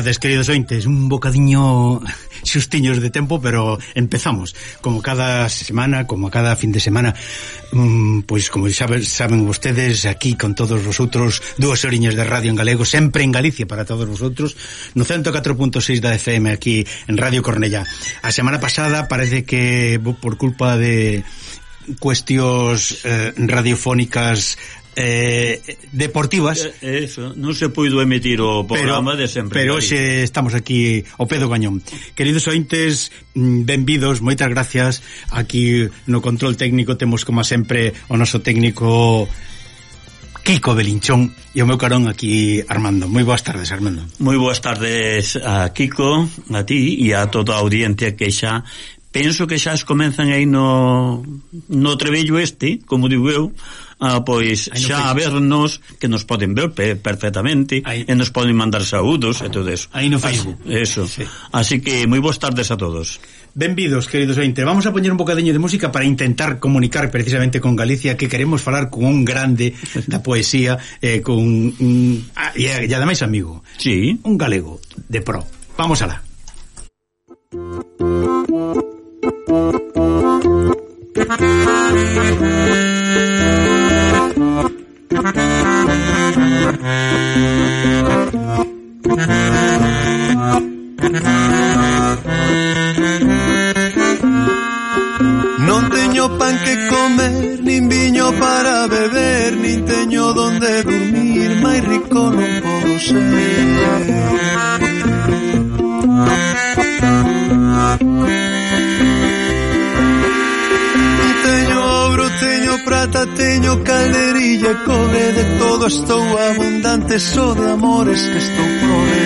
tardes, queridos ointes. Un bocadiño xustiños de tempo, pero empezamos. Como cada semana, como cada fin de semana, pois como saben vostedes, aquí con todos vosotros, 2 horiñas de radio en galego, sempre en Galicia para todos vosotros, no 104.6 da FM aquí en Radio Cornellá. A semana pasada parece que por culpa de cuestións radiofónicas deportivas, eso, non se puido emitir o programa de sempre. Pero hoxe estamos aquí ao pé do cañón. Queridos ointes, benvidos, moitas gracias. Aquí no control técnico temos como sempre o noso técnico Kiko Belinchón e o meu carón aquí Armando. Moi boas tardes, Armando. Moi boas tardes a Kiko, a ti e a toda a audiencia que xa penso que xa comenzan aí no trevello como digo eu, pois xa a vernos, que nos poden ver perfectamente e nos poden mandar saúdos e todo eso. Aí no Facebook. Eso. Sí. Así que moi boas tardes a todos. Benvidos, queridos ointes. Vamos a poñer un bocadiño de música para intentar comunicar precisamente con Galicia, que queremos falar con un grande da poesía, con e ademais amigo. Sí. Un galego de pro. Vamos alá. Non teño pan que comer, nin viño para beber, nin teño donde dormir, máis rico non podo ser. Teño ouro, teño prata, teño calderilla, cobre, de todo estou abundante, só de amores que estou prover.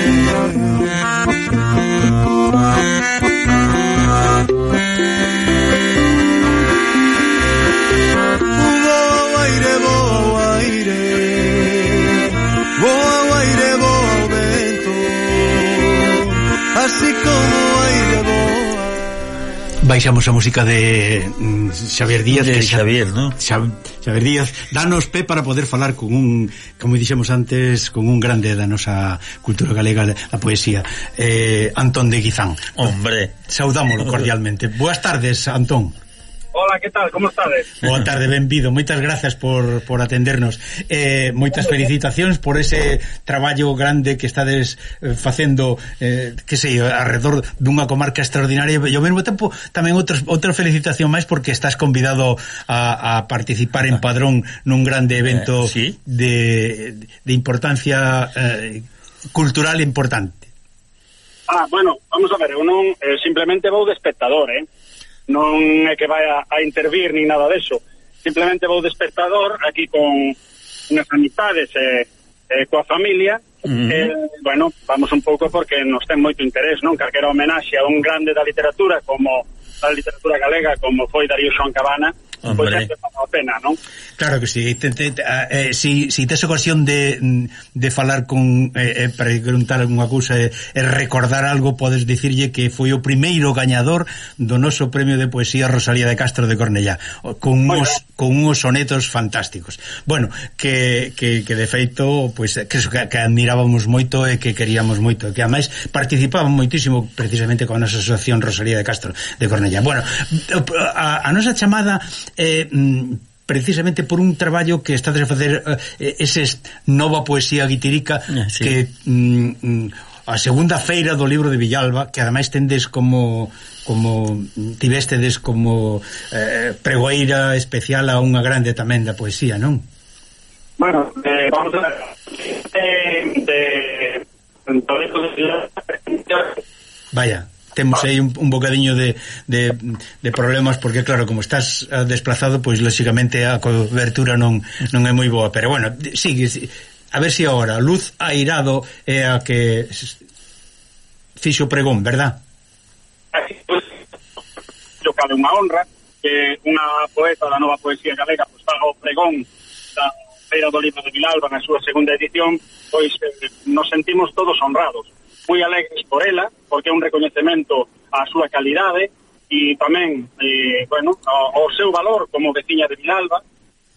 Así como aire boa. Baixamos a música de Xavier Díaz, de Xavier, ¿no? Xavier Díaz, danos pé para poder falar con un, como dixemos antes, con un grande da nosa cultura galega, a poesía, Antón de Guizán. Hombre, saudámolo cordialmente. Boas tardes, Antón. Hola, que tal? Como estades? Boa tarde, benvido. Moitas gracias por atendernos. Moitas felicitacións por ese traballo grande que estades facendo, que sei, alrededor dunha comarca extraordinaria, e ao mesmo tempo tamén outra felicitación máis porque estás convidado a participar en Padrón nun grande evento ¿sí? de importancia cultural importante. Bueno, vamos a ver, eu non simplemente vou de espectador, non é que vai a intervir ni nada deso, simplemente vou de espectador aquí con unhas amistades coa familia. Bueno, vamos un pouco porque nos ten moito interés, non? Calquera homenaxe a un grande da literatura como da literatura galega como foi Darío Xoán Cabana, pois é que vale a pena, non? Claro que sí. Si tes ocasión de falar con para preguntar alguna cousa e recordar algo, podes dicirlle que foi o primeiro gañador do noso premio de poesía Rosalía de Castro de Cornellá, con uns sonetos fantásticos. Bueno, que de feito, pois que admirábamos moito e que queríamos moito, que ademais participaban moitísimo precisamente con a nosa asociación Rosalía de Castro de Cornellá. Bueno, a nosa chamada precisamente por un traballo que estades a facer, ese nova poesía guitirica, sí. Que a segunda feira do libro de Villalba, que ademais tendes como tivestedes como pregoeira especial a unha grande tamén da poesía, non? Bueno, vamos a ver vaya, temos aí un bocadiño de problemas porque claro, como estás desplazado, pois lógicamente a cobertura non é moi boa, pero bueno, sigue, a ver se agora Luz Airado é a que fixo pregón, verdad? Así, pues, yo cabe unha honra que unha poeta da nova poesía galega pues faga o pregón da Feira do Libro de Vilalba na súa segunda edición, pois nos sentimos todos honrados, moi alegres por ela, porque é un recoñecemento á súa calidade e tamén, bueno, ao seu valor como veciña de Vilalba,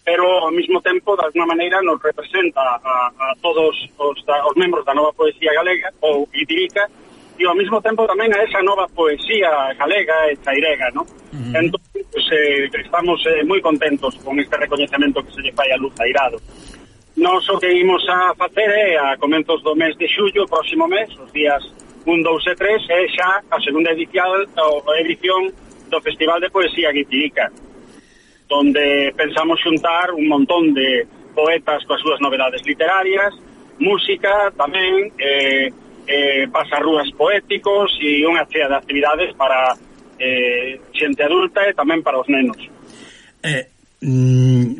pero ao mesmo tempo, de alguma maneira, nos representa a todos os membros da nova poesía galega, ou guitirica, e ao mesmo tempo tamén a esa nova poesía galega e chairega, ¿no? Entón, pues, estamos moi contentos con este recoñecemento que se lle fai a Luz Airado. Nós o que imos a facer é, a comenzos do mes de xullo, próximo mes, os días 1, 2 e 3, é xa a segunda edición do Festival de Poesía Guitirica, donde pensamos xuntar un montón de poetas coas súas novedades literarias, música tamén, pasarrúas poéticos e unha chea de actividades para xente adulta e tamén para os nenos.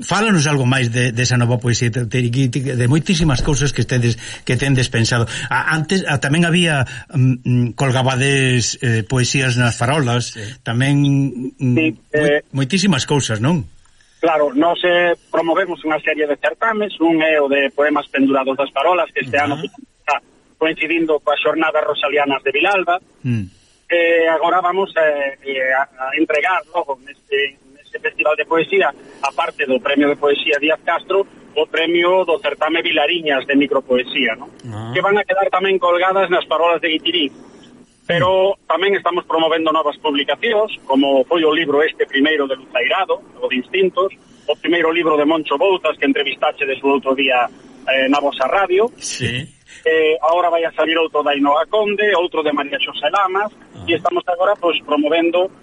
Fálanos algo máis desa nova poesía de moitísimas cousas que tendes pensado. Antes tamén había colgabades poesías nas farolas, tamén moitísimas cousas, non? Claro, nós promovemos unha serie de certames, un é o de poemas pendurados das farolas, que este ano está coincidindo coas xornadas rosalianas de Vilalba. Agora vamos a entregar logo neste Festival de Poesía, aparte do Premio de Poesía Díaz Castro, o Premio do Certame Vilariñas de Micropoesía, ¿no? Que van a quedar tamén colgadas nas farolas de Guitirín. Pero tamén estamos promovendo novas publicacións, como foi o libro este primeiro de Luz Airado, o de Instintos, o primeiro libro de Moncho Bouzas, que entrevistache o outro día na vosa radio. Sí. Ahora vai a salir outro da Inoa Conde, outro de María Xosé Lamas, e estamos agora pues promovendo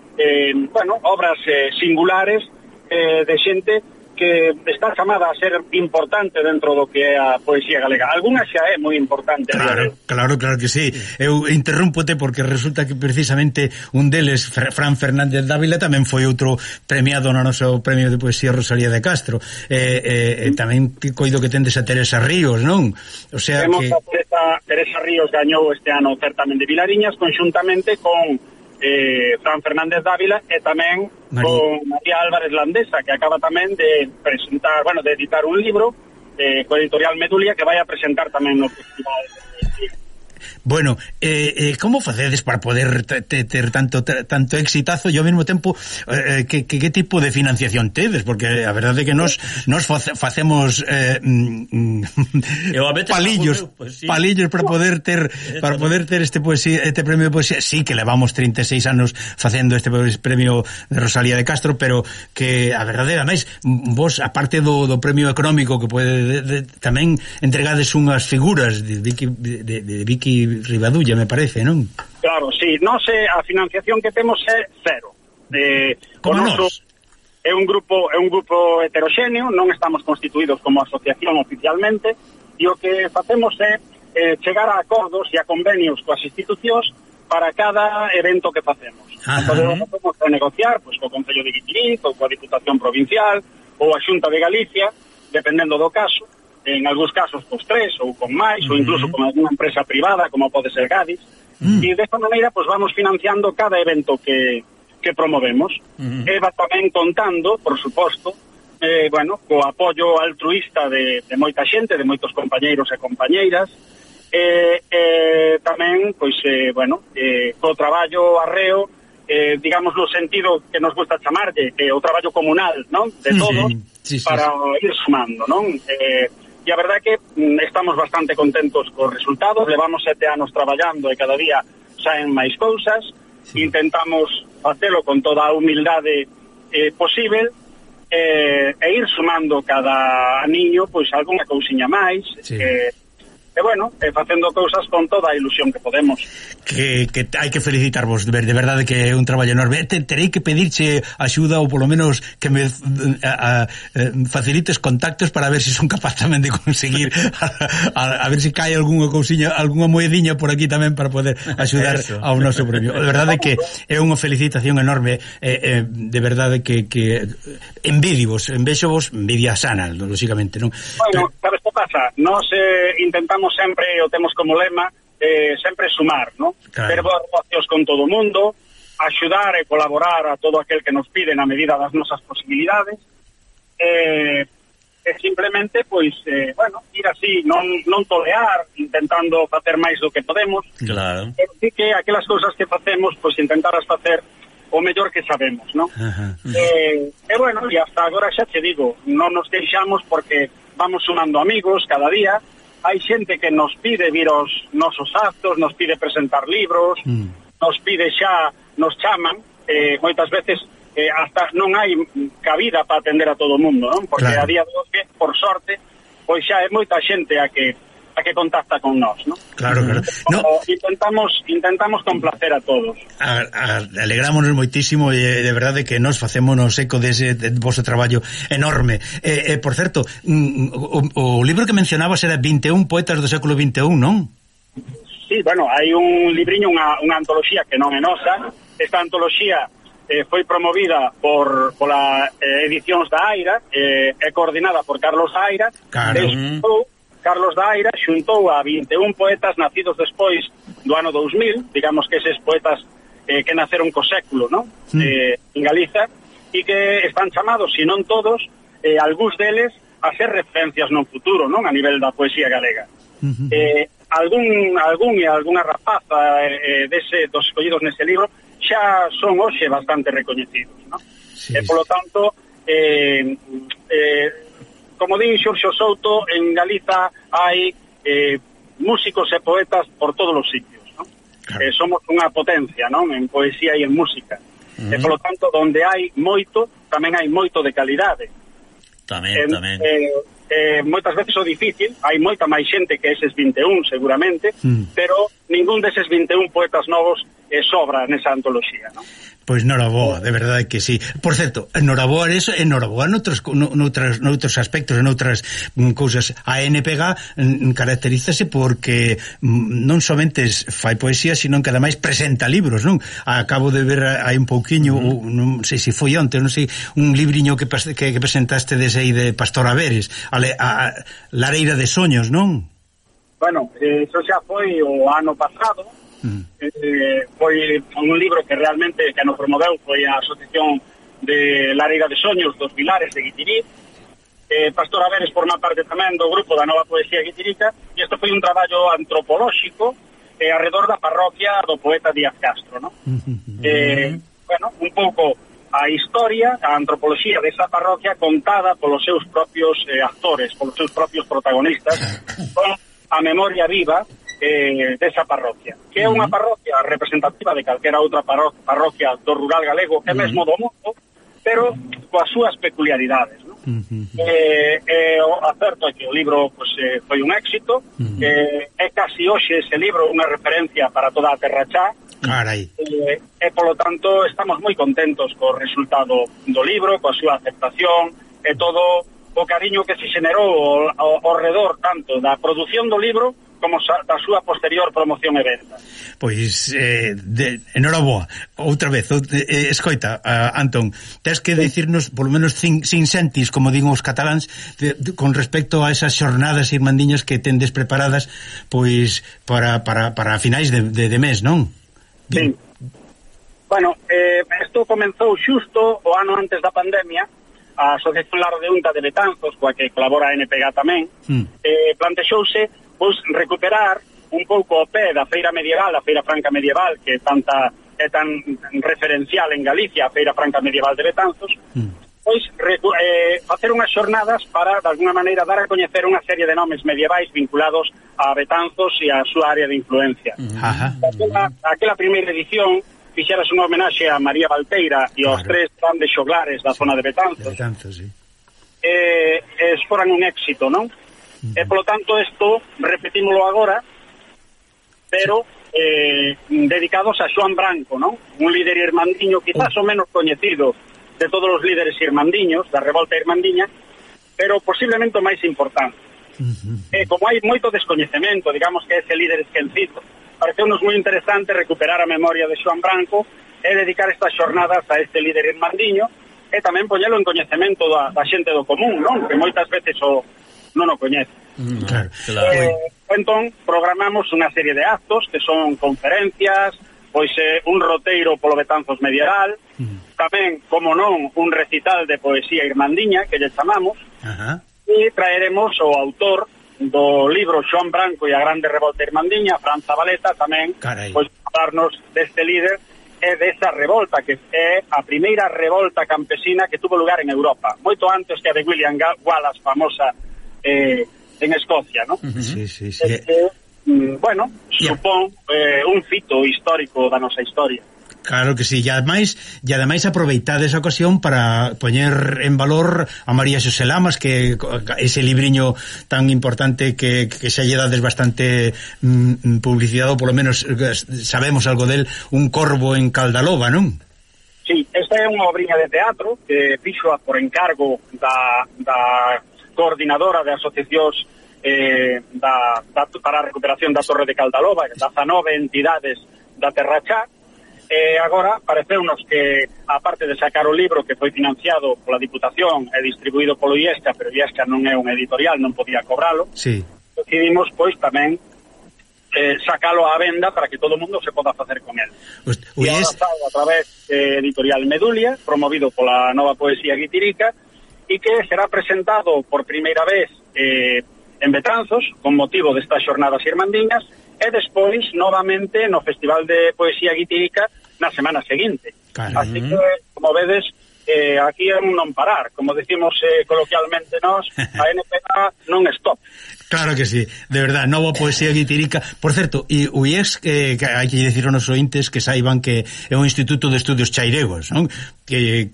obras singulares de xente que está chamada a ser importante dentro do que é a poesía galega. Alguna xa é moi importante. Claro que sí. Eu interrúmpote porque resulta que precisamente un deles, Fran Fernández Dávila, tamén foi outro premiado no noso Premio de Poesía Rosalía de Castro. Tamén coido que tendes a Teresa Ríos, non? O sea temos que Teresa Ríos gañou este ano o certamen de Vilariñas conxuntamente con Fran Fernández Dávila e tamén con María Álvarez Landesa, que acaba tamén de presentar, de editar un libro co editorial Medulia, que vai a presentar tamén no festival. Bueno, como facedes para poder ter tanto exitazo e ao mesmo tempo que tipo de financiación tedes? Porque a verdade é que nos facemos palillos para poder ter este premio de poesía. Sí que levamos 36 anos facendo este premio de Rosalía de Castro, pero que a verdade é máis vos, aparte do premio económico que pode tamén entregades unhas figuras de Vicky Rivadulla, me parece, non? Claro, sí, a financiación que temos é cero. Como nós? É un grupo heteroxéneo, non estamos constituídos como asociación oficialmente, e o que facemos é chegar a acordos e a convenios coas institucións para cada evento que facemos. Entón, podemos renegociar co Concello de Guitiriz, ou coa Diputación Provincial, ou a Xunta de Galicia, dependendo do caso. En algúns casos con 3 ou con máis, ou incluso con alguna empresa privada como pode ser Gadis, e desta maneira vamos financiando cada evento que promovemos. E va tamén contando, por suposto, co apoio altruista de moita xente, de moitos compañeiros e compañeiras, tamén co traballo arreo, digamos no sentido que nos gusta chamarlle, o traballo comunal, non? De todos, para ir sumando, non? E a verdade é que estamos bastante contentos cos resultados, levamos 7 anos traballando e cada día saen máis cousas, intentamos facelo con toda a humildade posible, e ir sumando cada aniño algunha cousiña máis, facendo cousas con toda a ilusión que podemos. Que hai que felicitarvos, de verdade que é un traballo enorme. Terei que pedirche axuda ou polo menos que me facilites contactos para ver se son capaz tamén de conseguir a ver se cae algunha cousiña, algunha moediña por aquí tamén para poder axudar ao noso premio. De verdade que é unha felicitación enorme, de verdade que envexovos, envidia sana, lógicamente, non? Bueno, sabes que pasa? Nos intentamos sempre, o temos como lema, sempre sumar, ¿no? Claro. Ter boas relacións con todo o mundo, axudar e colaborar a todo aquel que nos pide na medida das nosas posibilidades, e simplemente, ir así, non tolear, intentando facer máis do que podemos, claro. Así que aquelas cousas que facemos, intentarás facer o mellor que sabemos, non? Bueno, e hasta agora xa te digo, non nos queixamos porque vamos sumando amigos cada día, hai xente que nos pide vir aos nosos actos, nos pide presentar libros, nos pide xa, nos chaman, moitas veces hasta non hai cabida para atender a todo o mundo, non? Porque a día de hoxe, por sorte, pois xa é moita xente a que contacta con nós, non? Claro. No. Intentamos complacer a todos. Alegrámonos moitísimo e de verdade que nos facémonos eco dese vosso traballo enorme. Por certo, o libro que mencionabas era 21 poetas do século XXI, non? Sí, bueno, hai un libriño, unha antoloxía que non é nosa. Esta antoloxía foi promovida pola Edicións da Aira, é coordinada por Carlos Aira. Carlos da Aira xuntou a 21 poetas nacidos despois do ano 2000, digamos que eses poetas que naceron co século, non? En Galiza, e que están chamados, se non todos, algúns deles a ser referencias no futuro, non? A nivel da poesía galega. Algunha rapaza dos escollidos nese libro xa son hoxe bastante recoñecidos, non? Polo tanto, como din Xurxo Souto, en Galiza hai músicos e poetas por todos os sitios, non? Somos unha potencia, non? En poesía e en música. E, polo tanto, donde hai moito, tamén hai moito de calidade. Tamén. Moitas veces o difícil, hai moita máis xente que eses 21, seguramente, pero ningún deses 21 poetas novos sobra nesa antoloxía, non? Pois noraboa, de verdade que sí. Por certo, noraboa eso, noraboa noutros aspectos, en outras cousas. A NPG caracterízase porque non somente fai poesía, sino que ademais presenta libros, non? Acabo de ver hai un pouquiño, non sei se foi onte, non sei, un libriño que presentaste desde aí de Pastor Averes, a Lareira de Soños, non? Bueno, eso xa foi o ano pasado. Foi un libro que realmente que nos promoveu foi a Asociación de Lareira de Soños dos Vilares de Guitirí. Pastor Averes forma parte tamén do grupo da Nova Poesía Guitirica, e isto foi un traballo antropolóxico arredor da parroquia do poeta Díaz Castro, non? Bueno, un pouco a historia, a antropoloxía desa parroquia contada polos seus propios actores, polos seus propios protagonistas, con a memoria viva desa parroquia, que é unha parroquia representativa de calquera outra parroquia do rural galego, e mesmo do mundo, pero coas súas peculiaridades, non? O acerto é que o libro foi un éxito, é casi hoxe ese libro unha referencia para toda a terra xa. Carai. E polo tanto estamos moi contentos co resultado do libro, coa súa aceptación e todo o cariño que se xenerou ao redor tanto da produción do libro como da súa posterior promoción e venta. Pois, enhoraboa, outra vez, escoita, Antón, tens que dicirnos, polo menos, sin sentis, como digo os cataláns, con respecto a esas xornadas irmandiñas que tendes preparadas, pois, para finais de mes, non? Sí. Bueno, isto comenzou xusto o ano antes da pandemia. A Asociación Lar de Unta de Betanzos, coa que colabora a NPG tamén, plantexouse pois recuperar un pouco o pé da feira medieval, a feira franca medieval, que é tan referencial en Galicia, a feira franca medieval de Betanzos, pois facer unhas xornadas para, de alguna maneira, dar a coñecer unha serie de nomes medievais vinculados a Betanzos e a súa área de influencia. Aquela primeira edición fixeras unha homenaxe a María Valteira e aos tres grandes xoglares da zona de Betanzos. Sí. Foran un éxito, non? E polo tanto isto repetímolo agora, pero dedicados a Xoán Branco, non? Un líder irmandiño quizás o menos coñecido de todos os líderes irmandiños da revolta irmandiña, pero posiblemente o máis importante. Como hai moito descoñecemento, digamos que ese líder esquecido, pareceunos moi interesante recuperar a memoria de Xoán Branco e dedicar estas xornadas a este líder irmandiño e tamén poñelo en coñecemento da xente do común, non? Que moitas veces non o coñece. Entón, programamos unha serie de actos que son conferencias, pois un roteiro polo Betanzos medieval, tamén, como non, un recital de poesía irmandiña, que lle chamamos, e traeremos o autor do libro Xoán Branco e a grande revolta irmandiña, Fran Zabaleta, tamén, pois, falarnos deste líder é desa revolta, que é a primeira revolta campesina que tuvo lugar en Europa, moito antes que a de William Wallace, famosa en Escocia, ¿no? Sí. Bueno, supón un fito histórico da nosa historia. Claro que sí, e ademais aproveitade esa ocasión para poñer en valor a María Xosé Lamas, que ese libriño tan importante que xa lle dades bastante publicidade, ou polo menos sabemos algo del, Un corvo en Caldaloba, non? Sí, esta é unha obriña de teatro que fixo por encargo da coordinadora de asociacións para a recuperación da Torre de Caldaloba, 19 entidades da Terra Chá. Agora pareceunos que, aparte de sacar o libro que foi financiado pola Diputación e distribuído polo IESCA, pero IESCA non é un editorial, non podía cobralo, sí, decidimos pois tamén sacalo á venda para que todo o mundo se poda facer con él. E agora está a través de Editorial Medulia, promovido pola Nova Poesía Guitirica, e que será presentado por primeira vez en Betanzos, con motivo destas xornadas irmandiñas, e despois novamente no Festival de Poesía Guitirica na semana seguinte. Claro. Así que, como vedes, aquí é un non parar, como decimos coloquialmente nós, a NPA non stop. Claro que sí, de verdad, Nova Poesía Guitirica. Por certo, e o IES, que hai que dicir aos ointes que saiban que é un instituto de estudios chairegos, non? Que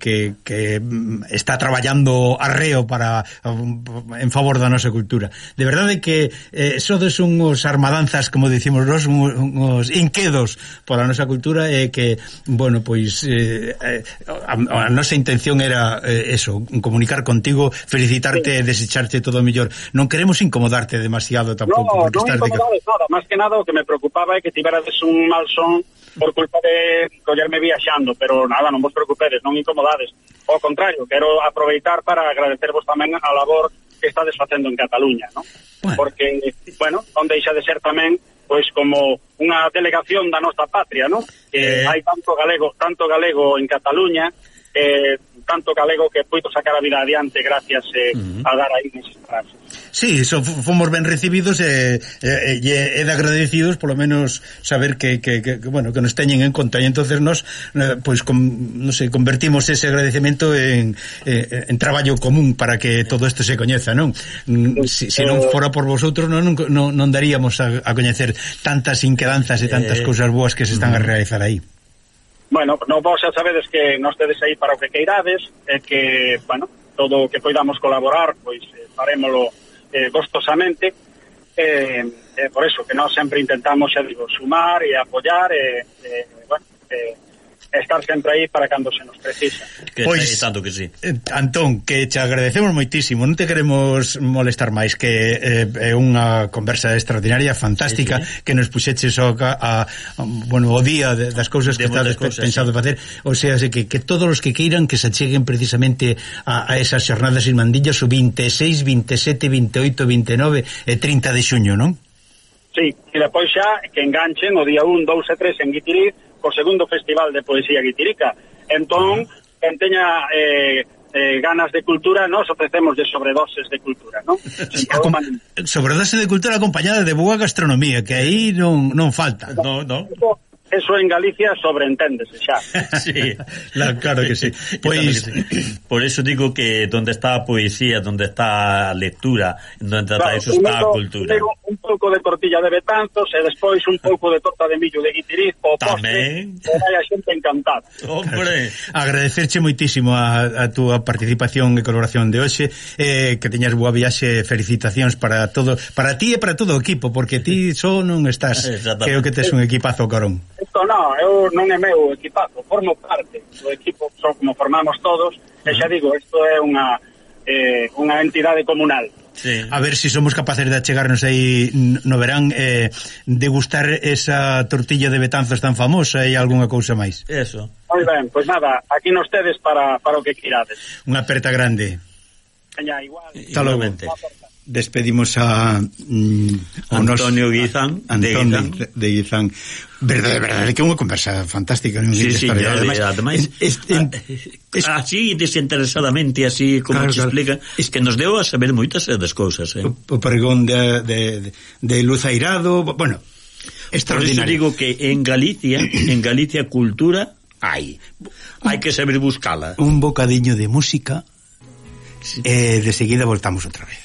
está traballando arreo en favor da nosa cultura. De verdade que sodes unhos armadanzas, como dicimos nós, unhos inquedos pola nosa cultura, e que, bueno, pois a nosa intención era eso, comunicar contigo, felicitarte e desecharte todo o mellor. Non queremos incomodarte demasiado tampouco. Non incomodades nada, máis que nada o que me preocupaba é que tiverades un mal son por culpa de collerme viaxando, pero nada, non vos preocupedes, non incomodades. Ao contrario, quero aproveitar para agradecervos tamén a labor que estades facendo en Cataluña, ¿no? Bueno. Porque, bueno, non deixa de ser tamén pois como unha delegación da nosa patria, ¿no? Que hai tanto galego en Cataluña, tanto galego que puido sacar a vida adiante gracias a dar aí nesas frases. Sí, fomos ben recibidos e de agradecidos, polo menos saber que bueno, que nos teñen en conta, e entonces nos pois non sei, convertimos ese agradecemento en traballo común para que todo isto se coñeza, non? Se non fora por vosotros non daríamos a coñecer tantas inquedanzas e tantas cousas boas que se están a realizar aí. Bueno, non vos xa sabedes que nos tedes aí para o que queirades, e que, bueno, todo o que poidamos colaborar, pois farémolo gostosamente, por eso que nós sempre intentamos, xa digo, sumar e apoiar, bueno, estar sempre aí para cando se nos precisa. Pois, tanto que sí. Antón, que te agradecemos moitísimo, non te queremos molestar máis, que é unha conversa extraordinaria, fantástica, que nos puxeches bueno, o día das cousas que estás pensado facer, o sea, que todos os que queiran que se acheguen precisamente a esas xornadas irmandillas o 26, 27, 28, 29 e 30 de xuño, non? Sí, e depois xa que enganchen o día 1, 2 e 3 en Guitiriz o segundo Festival de Poesía Guitirica. Entón, quen teña ganas de cultura, nos ofrecemos de sobredoses de cultura, ¿no? Sobredose de cultura acompañada de boa gastronomía, que aí non falta. No. Eso en Galicia sobreenténdese xa. Sí, claro que sí. Pois, por eso digo que donde está a poesía, donde está a lectura, donde está eso está a cultura. Un pouco de tortilla de Betanzos e despois un pouco de torta de millo de Guitiriz o postre, e vai a xente encantada. Hombre, agradecerche moitísimo a túa participación e colaboración de hoxe, que teñas boa viaxe, felicitacións para todo, para ti e para todo o equipo, porque ti só non estás, creo que tes un equipazo, carón. Isto eu non é meu equipazo, formo parte do equipo, son como formamos todos, e xa digo, isto é unha entidade comunal. Sí. A ver se somos capaces de achegarnos aí no verán, degustar esa tortilla de Betanzos tan famosa e algunha cousa máis. Eso. Moi ben, pois nada, aquí nos tedes para o que quirades. Unha aperta grande. Veña, igual. Igualmente. Despedimos a Antonio Guizán de Guizán. Verdade, que é unha conversa fantástica. Sí, ademais así desinteresadamente, así como te explica, es que nos deu a saber moitas das cousas. O pregón de Luz Airado, bueno, Extraordinario. Por iso digo que en Galicia cultura hai que saber buscala. Un bocadiño de música, de seguida voltamos outra vez.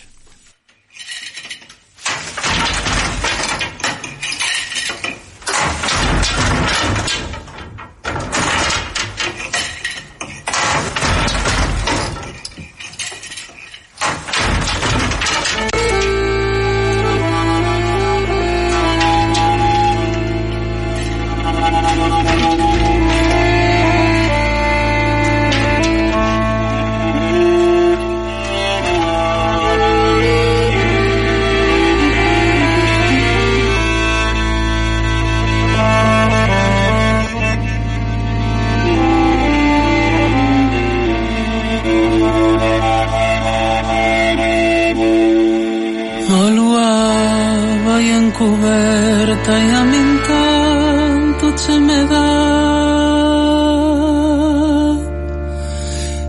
Encoberta e a min tanto che me dá,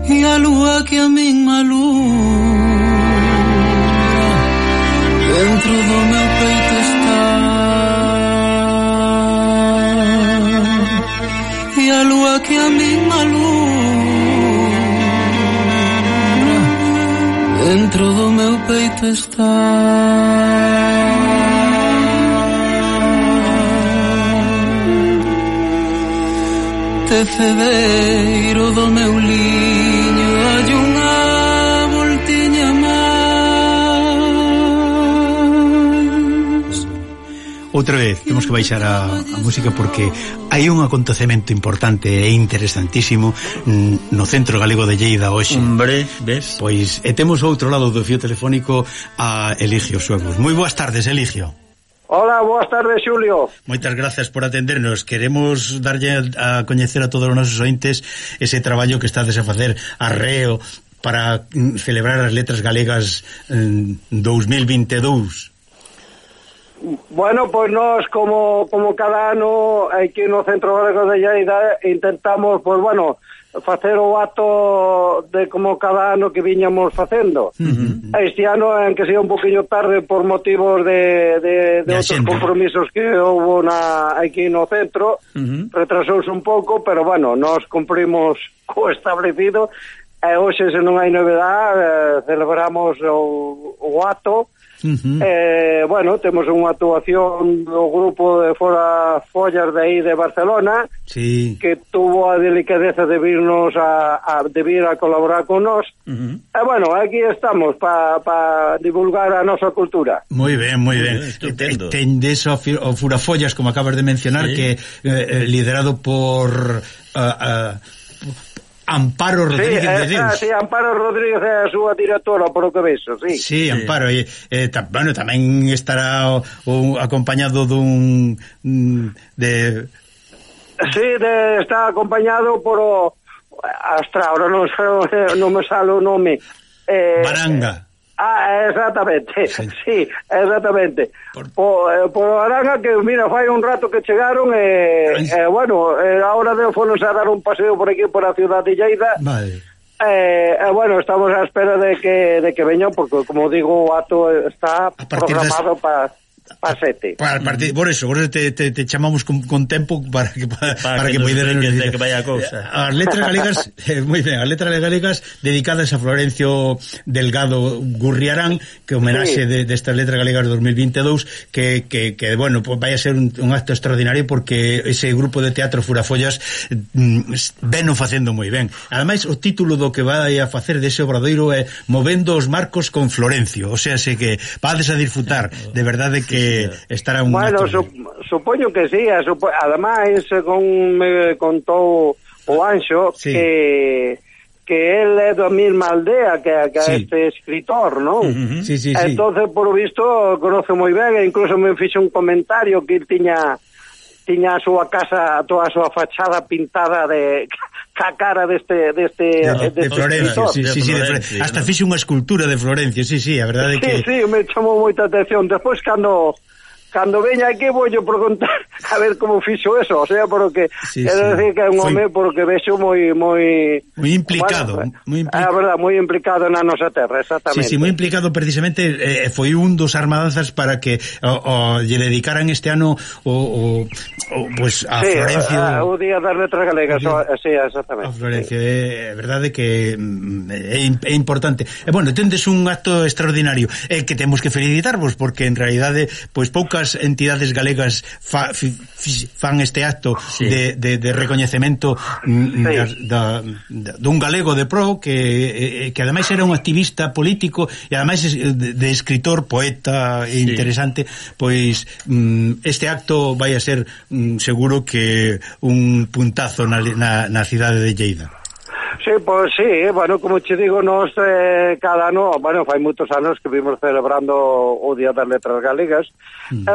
e a lúa que a min malura dentro do meu peito está, e a lúa que a min malura dentro do meu peito está. Tecedeiro do meu liño hai unha voltiña máis. Outra vez, temos que baixar a música porque hai un acontecemento importante e interesantísimo no Centro Galego de Lleida hoxe. Hombre, ves? Pois, temos outro lado do fío telefónico a Eligio Suegos. Moi boas tardes, Eligio. Hola, boas tardes, Xulio. Moitas gracias por atendernos. Queremos darlle a coñecer a todos os nosos ointes ese traballo que estades a facer arreo para celebrar as letras galegas 2022. Bueno, pois nós como cada ano aquí no Centro Galego de Lleida intentamos, pois bueno, facer o acto de como cada ano que viñamos facendo. Este ano, en que sea un poquinho tarde por motivos de outros compromisos que houve aquí no centro, retrasouse un pouco, pero bueno, nós cumprimos co establecido e hoxe, se non hai novedade, celebramos o acto. Bueno, temos unha actuación do grupo de Fora Follas de aí de Barcelona, sí, que tuvo a delicadeza de virnos de vir a colaborar con nós. E bueno, aquí estamos para divulgar a nosa cultura. Moi ben, moi ben. Tendes o Furafollas, como acabas de mencionar, sí, que liderado por Amparo Rodríguez de Deus. Sí, Amparo Rodríguez é a súa directora, por o que vexo, sí. Sí, Amparo, bueno, tamén estará acompañado dun está acompañado por Astra, ahora non me sale o nome. Baranga. Exactamente, sí, exactamente. Por Aranga, que mira, fai un rato que chegaron bueno, ahora fonos a dar un paseo por aquí, por a ciudad de Lleida. Vale. Bueno, estamos a espera de que veñan, porque como digo, o acto está programado para 7. Por eso te chamamos con tempo para que poideran que vaya a cousa. As letras galegas, moi ben, as letras galegas dedicadas a Florencio Delgado Gurriarán, que homenaxe destas letras galegas 2022, que bueno, pues vai a ser un acto extraordinario, porque ese grupo de teatro Furafollas veno facendo moi ben. Ademais, o título do que vai a facer dese obradoiro é Movendo os Marcos con Florencio, o sea, que vades a disfrutar, de verdade que estará un bueno, supoño que sí, ademais, según me contou o Anxo, sí, que él é da mesma aldea que sí, este escritor, non? Sí, entonces, por o visto, conoce moi ben, e incluso me fixe un comentario que tiña a súa casa, toda a súa fachada pintada de ca cara deste Florencio, sí, hasta fixe unha escultura de Florencio, sí, a verdade que sí, me chamou moita atención. Despois cando cando veña aquí vou preguntar a ver como fixo eso, o sea, porque quero decir que é un home porque vexo moi implicado, a verdad, moi implicado na nosa terra, exactamente. Sí, moi implicado precisamente, foi un dos armadanzas para que lle dedicaran este ano pues a Florencio, o Día das Letras Galegas, sí, exactamente. A Florencio, é verdade que é importante. Bueno, tendes un acto extraordinario, que temos que felicitarvos porque en realidade pois poucas entidades galegas fan este acto de recoñecemento dun galego de pro que ademais era un activista político e ademais de escritor, poeta interesante, pois este acto vai a ser seguro que un puntazo na cidade de Lleida. Sí, pois sí, bueno, como che digo, nos cada ano, bueno, fai moitos anos que vimos celebrando o Día das Letras Galegas,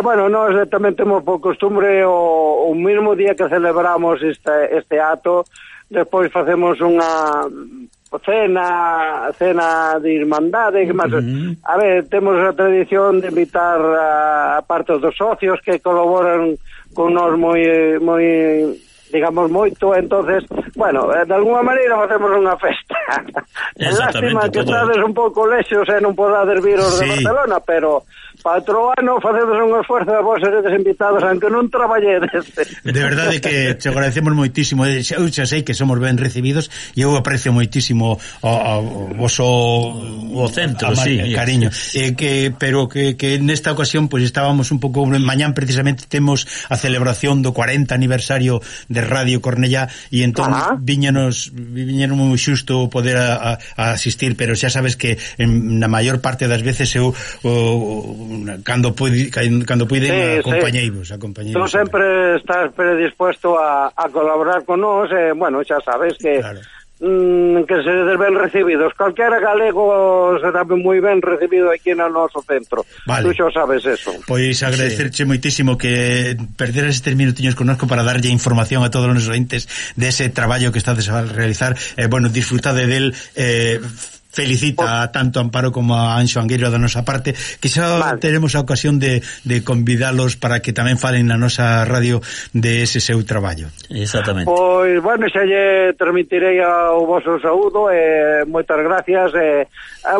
bueno, nos tamén temos por costumbre o mesmo día que celebramos este acto, despois facemos unha cena de irmandade, que máis, a ver, temos a tradición de invitar a parte dos socios que colaboran con nós moi digamos moito, entonces, bueno, de alguma maneira facemos unha festa. Lástima que estades un pouco lexos e non podades vir os de Barcelona, pero para outro ano facemos un esforzo de vos seredes invitados, aunque non traballedes. De verdade que te agradecemos moitísimo, eu xa sei que somos ben recibidos e eu aprecio moitísimo o centro, cariño, pero que nesta ocasión pues estábamos un pouco, mañán precisamente temos a celebración do 40 aniversario de Radio Cornellá e entón viñenos moi xusto poder asistir, pero xa sabes que na maior parte das veces eu cando puiden acompañeivos. Tú sempre estás predispuesto a colaborar con nós, bueno, xa sabes que que seredes ben recibidos. Calquera galego será moi ben recibido aquí no noso centro. Tú xa sabes eso. Pois agradecerche moitísimo que perderas estes minutiños connosco para darlle información a todos os ointes dese traballo que estades a realizar. Bueno, disfrutade del, felicita tanto a Amparo como a Anxo Angueiro da nosa parte, que xa teremos a ocasión de convidalos para que tamén falen na nosa radio de ese seu traballo. Exactamente. Pois, bueno, xa lle transmitirei o vosso saúdo, moitas gracias,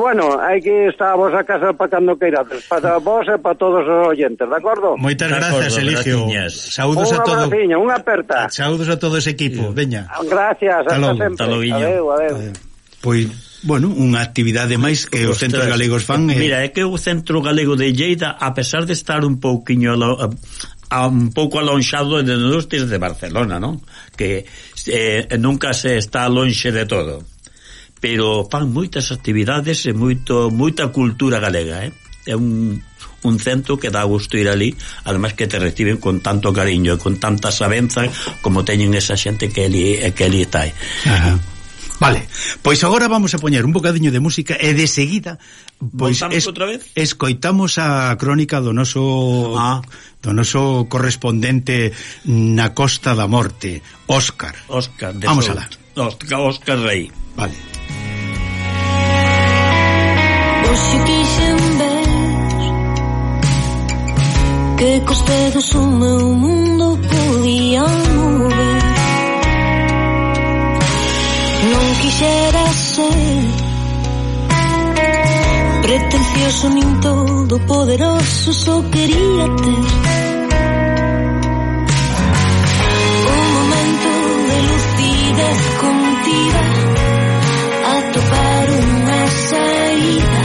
bueno, aquí está a vosa casa para cando queirades, para vos e para todos os oyentes, de acordo? Moitas gracias, Eligio. Saúdos a todos. Unha aperta. Saúdos a todo ese equipo, veña. Gracias, hasta sempre. Adeu. Pois, bueno, unha actividade máis que os centros galegos fan. Mira, é que o Centro Galego de Lleida, a pesar de estar un pouquiño un pouco alonxado de nós desde Barcelona, non? Que nunca se está lonxe de todo, pero fan moitas actividades e moita cultura galega, é un centro que dá gusto ir ali, además que te reciben con tanto cariño e con tanta sabenza como teñen esa xente que ali está aí. Vale, pois agora vamos a poñer un bocadiño de música e de seguida pois escoitamos a crónica do noso correspondente na Costa da Morte, Óscar. Vamos alá. Óscar Rey. Vale. Hoxe quixen ver que cos dedos o meu mundo podía mover. Non quixera ser pretencioso nin todo poderoso, só quería ter un momento de lucidez contida, atopar unha saída,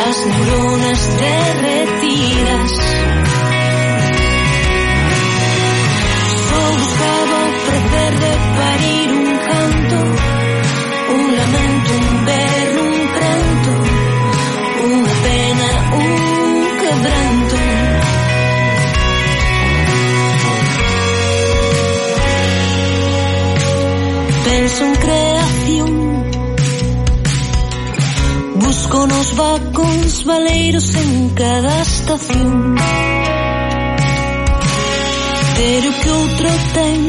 as neuronas derretidas. Só buscaba o prazer de parir un canto, un lamento, un berro, un pranto, unha pena, un quebranto. Penso en creación, busco nos vacóns valeiros en cada estación, pero que outro ten.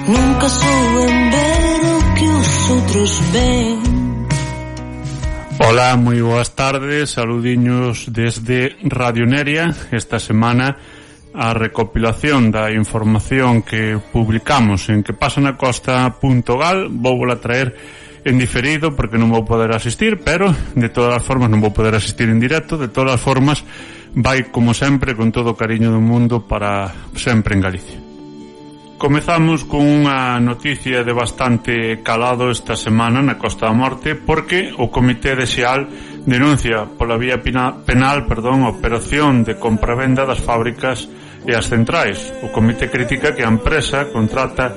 Nunca souben ver o que os outros ven. Ola, moi boas tardes, saludiños desde Radio Neria. Esta semana a recopilación da información que publicamos en quepasanacosta.gal vouvola traer en diferido porque non vou poder asistir, pero de todas as formas non vou poder asistir en directo. De todas as formas vai como sempre con todo o cariño do mundo para sempre en Galicia. Comezamos con unha noticia de bastante calado esta semana na Costa da Morte, porque o Comité de Xeal denuncia pola vía penal a operación de compravenda das fábricas e as centrais. O Comité critica que a empresa contrata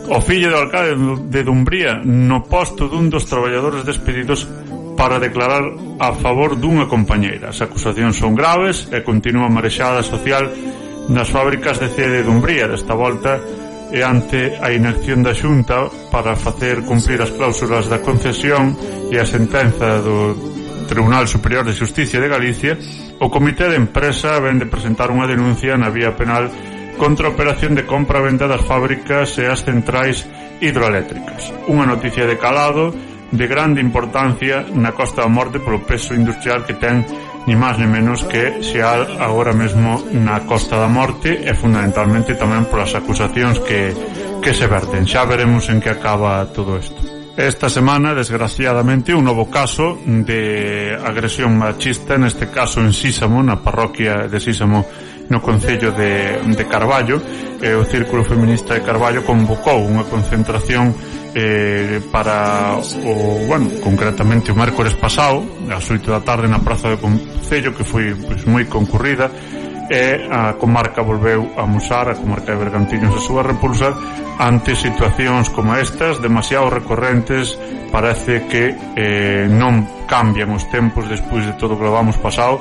o fillo do alcalde de Dumbría no posto dun dos traballadores despedidos para declarar a favor dunha compañeira. As acusacións son graves e continúa a marexada social nas fábricas de cea de Dumbría. Desta volta e ante a inacción da Xunta para facer cumprir as cláusulas da concesión e a sentenza do Tribunal Superior de Xusticia de Galicia, o Comité de Empresa ven de presentar unha denuncia na vía penal contra a operación de compra-venda das fábricas e as centrais hidroeléctricas. Unha noticia de calado de grande importancia na Costa da Morte polo peso industrial que ten ni máis ni menos que Xeal agora mesmo na Costa da Morte, e fundamentalmente tamén polas acusacións que se verten. Xa veremos en que acaba todo isto. Esta semana, desgraciadamente, un novo caso de agresión machista, neste caso en Sísamo, na parroquia de Sísamo, no concello de Carballo. O Círculo Feminista de Carballo convocou unha concentración para concretamente o mércores pasado ás 8 da tarde na praza do concello, que foi moi concurrida, e a comarca volveu a amosar, a comarca de Bergantiños, a súa repulsa ante situacións como estas, demasiado recorrentes. Parece que non cambian os tempos despois de todo o que levamos pasado,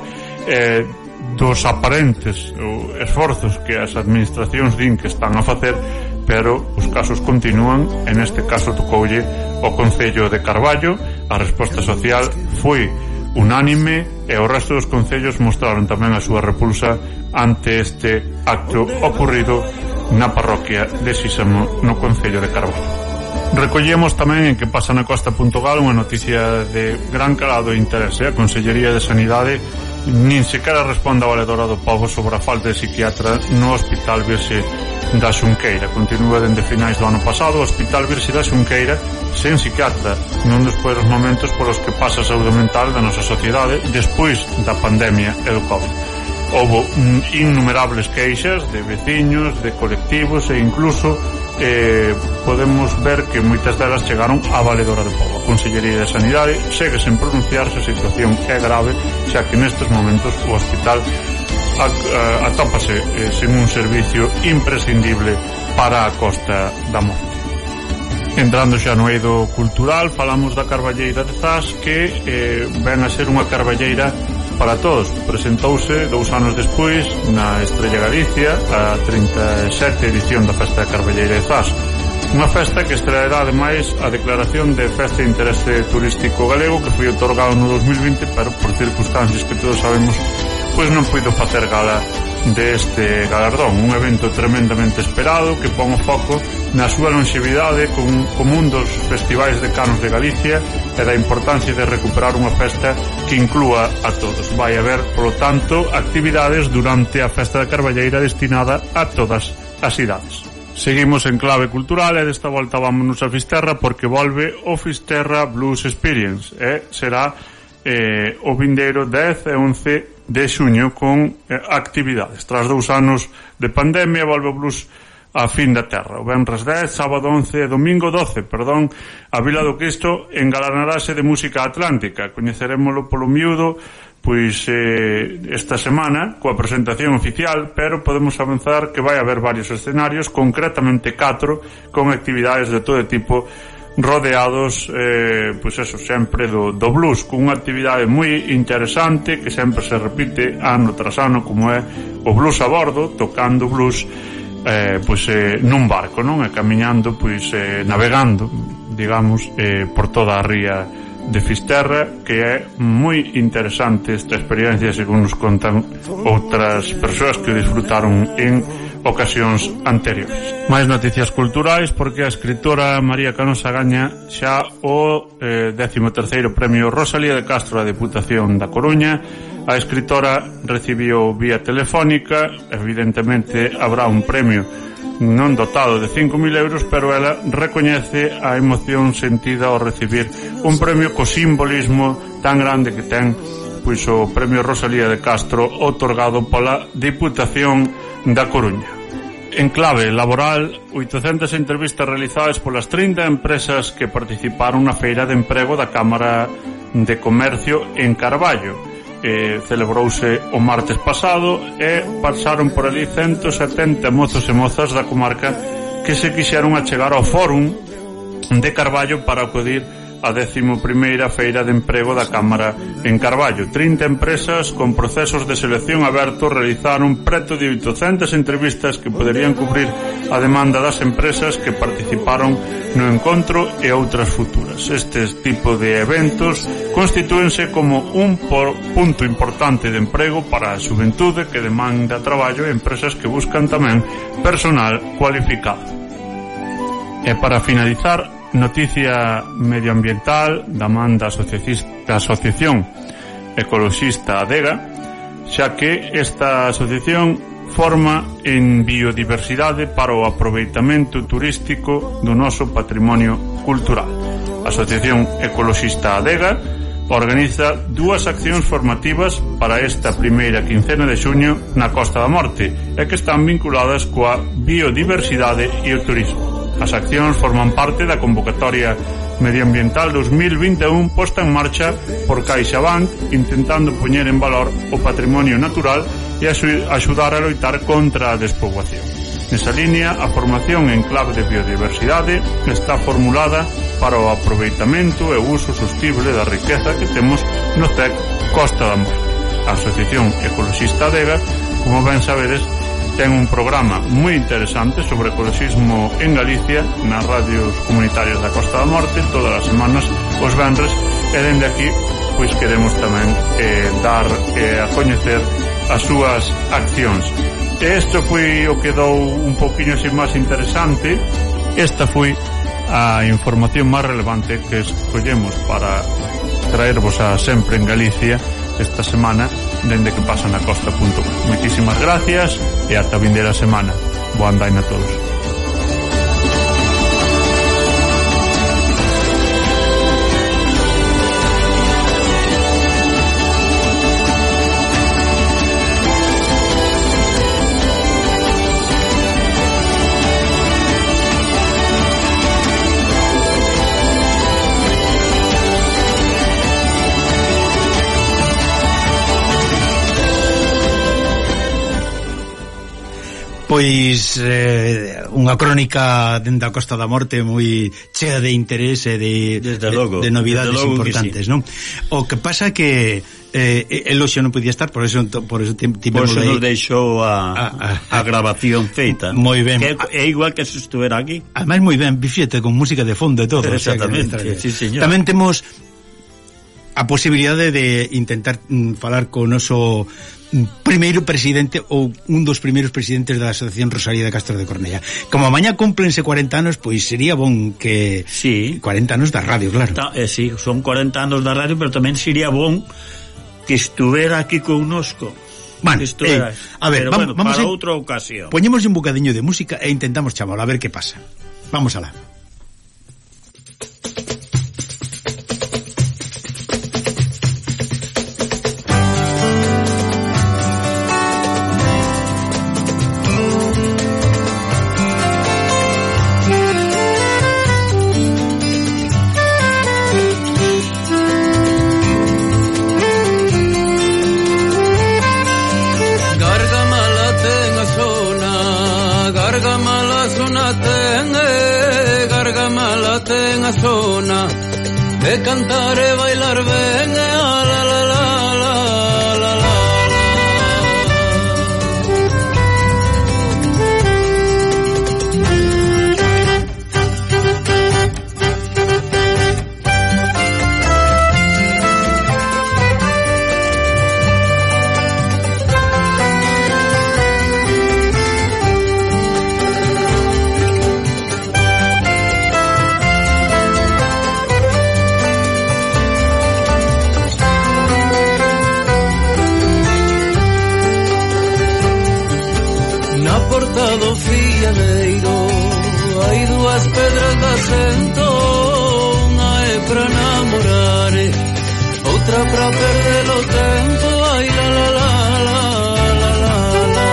dos aparentes esforzos que as administracións din que están a facer, pero os casos continúan. En este caso tocoulle o concello de Carballo. A resposta social foi unánime e o resto dos concellos mostraron tamén a súa repulsa ante este acto ocurrido na parroquia de Sísamo, no concello de Carballo. Recollemos tamén en quepasanacosta.gal unha noticia de gran calado e interese. A Consellería de Sanidade nin sequera responde ao valedora do pobo sobre a falta de psiquiatra no Hospital Virxe da Xunqueira. Continúa dende finais do ano pasado o Hospital Virxe da Xunqueira sen psiquiatra, nun dos peores momentos polos que pasa a saúde mental da nosa sociedade despois da pandemia e do COVID. Houbo innumerables queixas de veciños, de colectivos e incluso podemos ver que moitas delas chegaron á valedora do pobo. A Consellería de Sanidade segue sen pronunciarse. A situación é grave, xa que nestes momentos o hospital atópase sen un servicio imprescindible para a Costa da Morte. Entrando xa no eido cultural, falamos da Carballeira de Zas, que ven a ser unha carballeira para todos. Presentouse 2 anos despois na Estrella Galicia a 37ª edición da Festa da Carballeira de Zas, unha festa que estreará ademais a declaración de Festa de Interese Turístico Galego, que foi otorgado no 2020, pero por circunstancias que todos sabemos, pois non puido facer gala deste galardón. Un evento tremendamente esperado que pon o foco na súa longevidade como un dos festivais de canos de Galicia e da importancia de recuperar unha festa que inclúa a todos. Vai haber, polo tanto, actividades durante a Festa da Carballeira destinada a todas as idades. Seguimos en clave cultural e desta volta vámonos a Fisterra, porque volve o Fisterra Blues Experience e será o vindeiro 10 e 11 de xuño con actividades. Tras 2 anos de pandemia volve o blues a fin da terra. O venres 10, sábado 11 e domingo 12, a Vila do Cristo engalanarase de música atlántica. Coñecerémolo polo miúdo pois esta semana coa presentación oficial, pero podemos avanzar que vai haber varios escenarios, concretamente 4, con actividades de todo tipo, rodeados pois eso, sempre do blues, con unha actividade moi interesante que sempre se repite ano tras ano, como é o blues a bordo, tocando blues nun barco, non? E camiñando, navegando, digamos, por toda a ría de Fisterra, que é moi interesante esta experiencia, según nos contan outras persoas que disfrutaron en ocasións anteriores. Máis noticias culturais, porque a escritora María Canosa gaña xa o 13º Premio Rosalía de Castro da Deputación da Coruña. A escritora recibiu vía telefónica, evidentemente habrá un premio non dotado de 5.000 euros, pero ela recoñece a emoción sentida ao recibir un premio co simbolismo tan grande que ten pois o Premio Rosalía de Castro otorgado pola Diputación da Coruña. En clave laboral, 800 entrevistas realizadas polas 30 empresas que participaron na feira de emprego da Cámara de Comercio en Carballo. Celebrouse o martes pasado e pasaron por ali 170 mozos e mozas da comarca que se quixeron achegar ao fórum de Carballo para acudir a 11ª Feira de Emprego da Cámara en Carballo. 30 empresas con procesos de selección abertos realizaron preto de 800 entrevistas que poderían cubrir a demanda das empresas que participaron no encontro e outras futuras. Estes tipo de eventos constitúense como un punto importante de emprego para a xuventude que demanda traballo e empresas que buscan tamén personal cualificado. E para finalizar, noticia medioambiental da man da Asociación Ecoloxista Adega, xa que esta asociación forma en biodiversidade para o aproveitamento turístico do noso patrimonio cultural. A Asociación Ecoloxista Adega organiza 2 accións formativas para esta primeira quincena de xuño na Costa da Morte e que están vinculadas coa biodiversidade e o turismo. As accións forman parte da convocatoria medioambiental 2021 posta en marcha por CaixaBank, intentando poñer en valor o patrimonio natural e axudar a loitar contra a despoboación. Nesa línea, a formación en clave de biodiversidade está formulada para o aproveitamento e o uso sostible da riqueza que temos no TEC Costa da Morte. A Asociación Ecoloxista Adega, como ben sabedes, ten un programa moi interesante sobre ecoloxismo en Galicia nas radios comunitarias da Costa da Morte todas as semanas os venres, e dende aquí pois queremos tamén dar a coñecer as súas accións. E isto foi o que dou un poquinho así máis interesante. Esta foi a información máis relevante que escollemos para traervos a Sempre en Galicia esta semana dende que pasa na costa.com. Moitísimas gracias e ata a vindeira semana. Boa andaina a todos. Pois unha crónica dende a Costa da Morte moi chea de interese de novidades importantes, non? O que pasa que el hoxe non podía estar, por eso tivemos aí. Nos deixou a grabación feita. Moi ben. É igual que se estuvera aquí. Ademais moi ben, bifíete, con música de fondo e todo. Exactamente, o sea, sí, señor. Tamén temos a posibilidade de intentar falar con o noso primeiro presidente ou un dos primeiros presidentes da Asociación Rosalía de Castro de Cornella. Como mañá cúmplense 40 anos, pois sería bon que... Sí. 40 anos da radio, claro. Sí, son 40 anos da radio, pero tamén sería bon que estuvera aquí connosco. Bueno, a ver, pero vamos para outra ocasión. Poñemos un bocadiño de música e intentamos chamalo, a ver que pasa. Vamos alá. Zona de cantar e bailar ben, la la la la la la. que sento, unha é pra namorar, outra pra perder o tempo, ai la la la la la la la.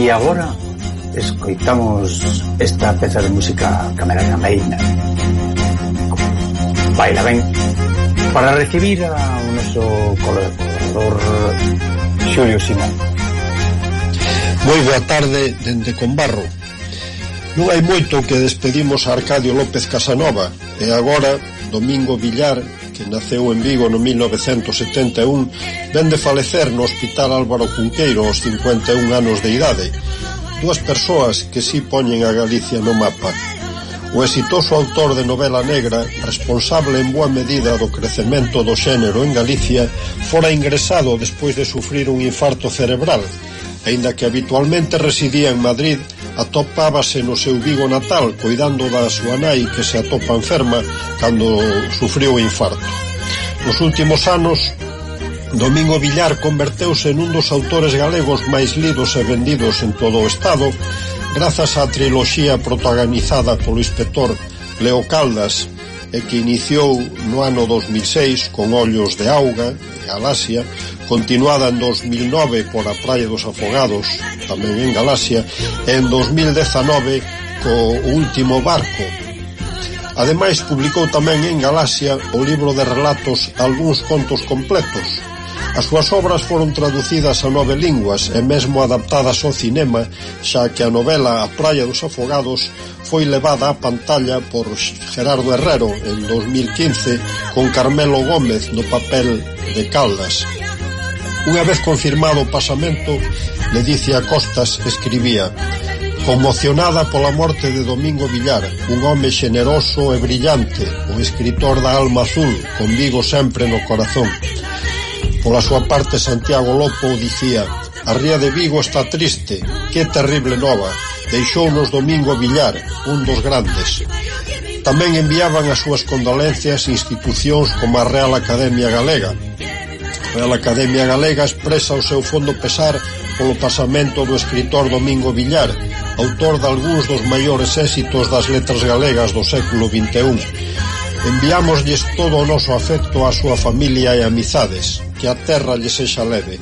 E agora escoitamos esta peza de música camerameina, Baila Ben, para recibir a noso colaborador Xulio Simón. Moi boa tarde dende Combarro. Non hai moito que despedimos a Arcadio López Casanova, e agora Domingo Villar, que naceu en Vigo no 1971, ven de falecer no Hospital Álvaro Cunqueiro aos 51 anos de idade. Dúas persoas que si poñen a Galicia no mapa. O exitoso autor de novela negra, responsable en boa medida do crecemento do xénero en Galicia, fora ingresado despois de sufrir un infarto cerebral. Aínda que habitualmente residía en Madrid, atopábase no seu Vigo natal, coidando da súa nai que se atopa enferma cando sufriu o infarto. Nos últimos anos, Domingo Villar converteuse nun dos autores galegos máis lidos e vendidos en todo o Estado, grazas á triloxía protagonizada polo inspector Leo Caldas, e que iniciou no ano 2006 con Ollos de Auga, Galaxia, continuada en 2009 por A Praia dos Afogados, tamén en Galaxia, e en 2019 co Último Barco. Ademais, publicou tamén en Galaxia o libro de relatos Algúns contos completos. As súas obras foron traducidas a 9 linguas e mesmo adaptadas ao cinema, xa que a novela A Praia dos Afogados foi levada á pantalla por Gerardo Herrero en 2015 con Carmelo Gómez no papel de Caldas. Unha vez confirmado o pasamento, Ledicia Costas escribía: conmocionada pola morte de Domingo Villar, un home xeneroso e brillante, o escritor da alma azul, con Vigo sempre no corazón. Pola súa parte, Santiago Lopo dicía: a ría de Vigo está triste, que terrible nova, deixounos Domingo Villar, un dos grandes. Tamén enviaban as súas condolencias institucións como a Real Academia Galega. A Real Academia Galega expresa o seu fondo pesar polo pasamento do escritor Domingo Villar, autor de algúns dos maiores éxitos das letras galegas do século XXI. Enviámoslles todo o noso afecto á súa familia e amizades, que a terra lle sexa leve.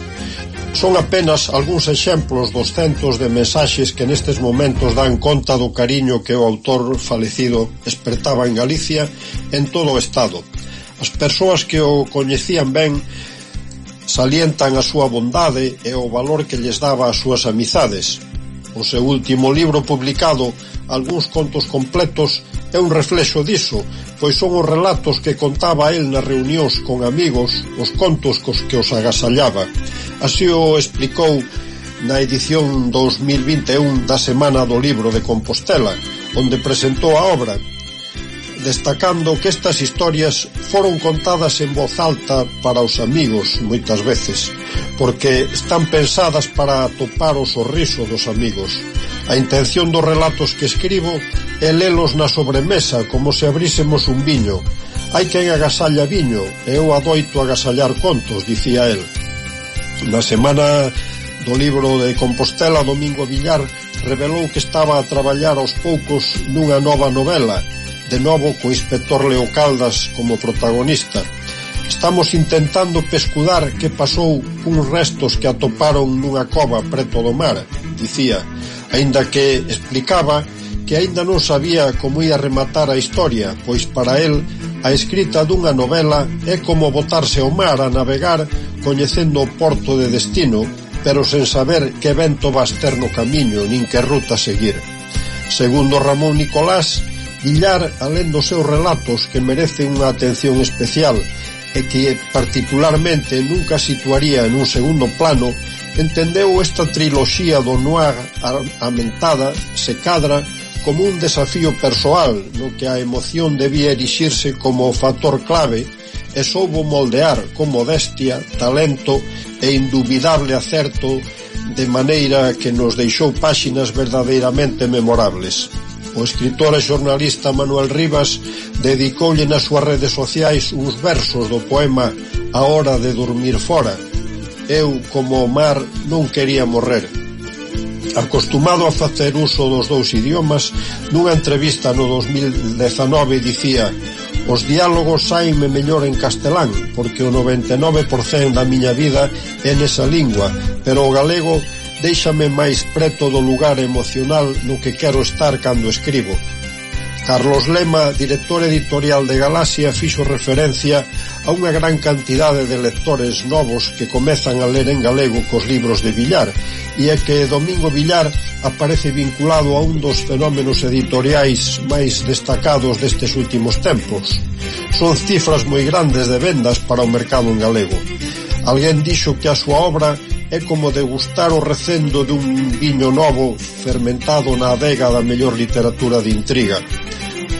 Son apenas algúns exemplos dos centos de mensaxes que nestes momentos dan conta do cariño que o autor falecido espertaba en Galicia e en todo o Estado. As persoas que o coñecían ben salientan a súa bondade e o valor que lles daba ás súas amizades. O seu último libro publicado, Algúns contos completos, é un reflexo diso, pois son os relatos que contaba el nas reunións con amigos, os contos cos que os agasallaba. Así o explicou na edición 2021 da Semana do Libro de Compostela, onde presentou a obra, destacando que estas historias foron contadas en voz alta para os amigos moitas veces, porque están pensadas para atopar o sorriso dos amigos. A intención dos relatos que escribo é lelos na sobremesa, como se abrísemos un viño. Hai quen agasalla viño, e eu adoito agasallar contos, dicía el. Na Semana do Libro de Compostela, Domingo Villar revelou que estaba a traballar aos poucos nunha nova novela, de novo co inspector Leo Caldas como protagonista. Estamos intentando pescudar que pasou cuns restos que atoparon nunha cova preto do mar, dicía, aínda que explicaba que aínda non sabía como ia rematar a historia, pois para el a escrita dunha novela é como botarse ao mar a navegar coñecendo o porto de destino, pero sen saber que vento vas ter no camiño nin que ruta seguir. Segundo Ramón Nicolás, Villar, alén dos seus relatos que merecen unha atención especial, e que particularmente nunca situaría en un segundo plano, entendeu esta triloxía do noir amentada se cadra como un desafío persoal no que a emoción debía erixirse como factor clave e soubo moldear con modestia, talento e indubidable acerto, de maneira que nos deixou páxinas verdadeiramente memorables. O escritor e xornalista Manuel Rivas dedicoulle nas súas redes sociais uns versos do poema A hora de dormir fora. Eu, como o mar, non quería morrer. Acostumado a facer uso dos dous idiomas, nunha entrevista no 2019 dicía: os diálogos saime mellor en castelán, porque o 99% da miña vida é nesa lingua, pero o galego déixame máis preto do lugar emocional no que quero estar cando escribo. Carlos Lema, director editorial de Galaxia, fixo referencia a unha gran cantidade de lectores novos que comezan a ler en galego cos libros de Villar, e é que Domingo Villar aparece vinculado a un dos fenómenos editoriais máis destacados destes últimos tempos. Son cifras moi grandes de vendas para o mercado en galego. Alguén dixo que a súa obra é como degustar o recendo dun viño novo fermentado na adega da mellor literatura de intriga.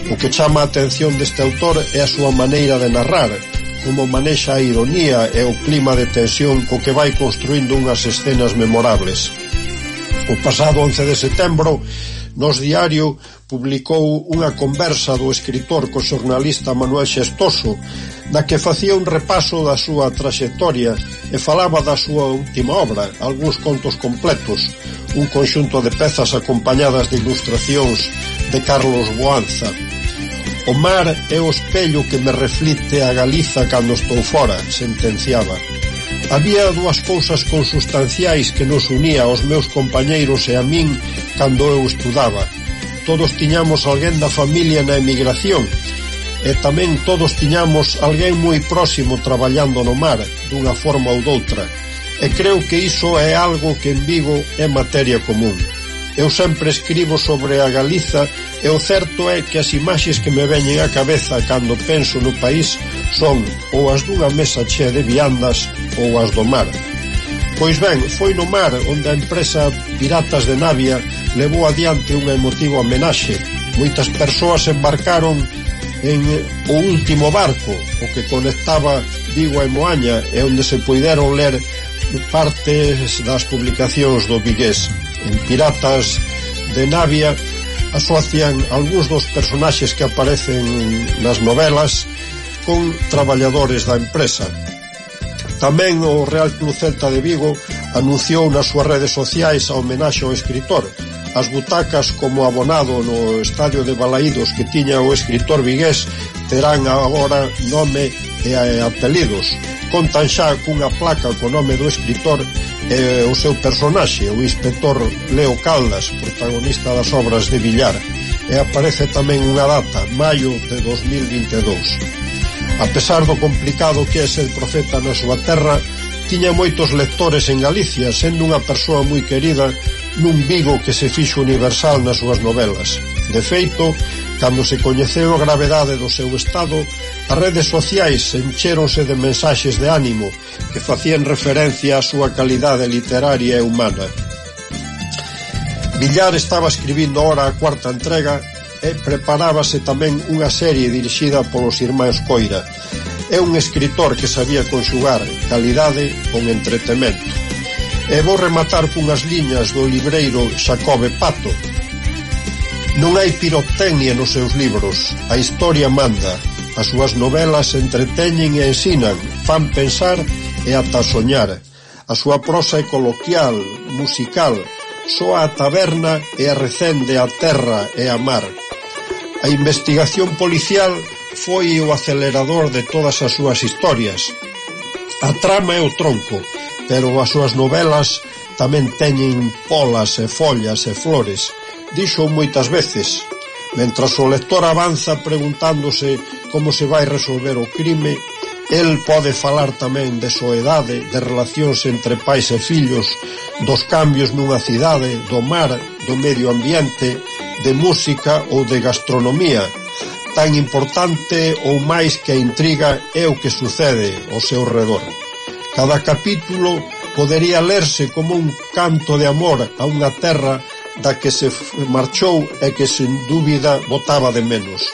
O que chama a atención deste autor é a súa maneira de narrar, como manexa a ironía e o clima de tensión co que vai construindo unhas escenas memorables. O pasado 11 de setembro, Nos Diario publicou unha conversa do escritor co xornalista Manuel Xestoso, na que facía un repaso da súa traxectoria e falaba da súa última obra, algúns contos completos, un conxunto de pezas acompañadas de ilustracións de Carlos Boanza. O mar é o espello que me reflite a Galiza cando estou fora, sentenciaba. Había dúas cousas consustanciais que nos unía aos meus compañeiros e a min cando eu estudaba. Todos tiñamos alguén da familia na emigración e tamén todos tiñamos alguén moi próximo traballando no mar, dunha forma ou doutra. E creo que iso é algo que en Vigo é materia común. Eu sempre escribo sobre a Galiza e o certo é que as imaxes que me veñen á cabeza cando penso no país son ou as dunha mesa chea de viandas ou as do mar. Pois ben, foi no mar onde a empresa Piratas de Navia levou adiante unha emotiva homenaxe. Moitas persoas embarcaron en o último barco, o que conectaba Vigo e Moaña, e onde se puideron ler partes das publicacións do vigués. En Piratas de Navia asocian algúns dos personaxes que aparecen nas novelas con traballadores da empresa. Tamén o Real Club Celta de Vigo anunciou nas súas redes sociais a homenaxe ao escritor. As butacas como abonado no estadio de Balaídos que tiña o escritor vigués terán agora nome e apelidos. Contan xa cunha placa co nome do escritor e o seu personaxe, o inspector Leo Caldas, protagonista das obras de Villar, e aparece tamén unha data, maio de 2022. A pesar do complicado que é ser profeta na súa terra, tiña moitos lectores en Galicia, sendo unha persoa moi querida nun Vigo que se fixo universal nas súas novelas. De feito, cando se coñeceu a gravedade do seu estado, as redes sociais encheronse de mensaxes de ánimo que facían referencia á súa calidade literaria e humana. Villar estaba escribindo ahora a cuarta entrega e preparábase tamén unha serie dirixida polos irmáns Coira. É un escritor que sabía conxugar calidade con entretemento. E vou rematar cunhas liñas do libreiro Xacobe Pato. Non hai pirotecnia nos seus libros, a historia manda. As súas novelas entreteñen e ensinan, fan pensar e ata soñar. A súa prosa é coloquial, musical, soa a taberna e arrecende a terra e a mar. A investigación policial foi o acelerador de todas as súas historias. A trama é o tronco, pero as súas novelas tamén teñen polas e follas e flores. Dixo moitas veces, mentras o lector avanza preguntándose como se vai resolver o crime, el pode falar tamén de soedade, de relacións entre pais e fillos, dos cambios nunha cidade, do mar, do medio ambiente, de música ou de gastronomía. Tan importante ou máis que a intriga é o que sucede ao seu redor. Cada capítulo podería lerse como un canto de amor a unha terra da que se marchou e que sen dúbida botaba de menos.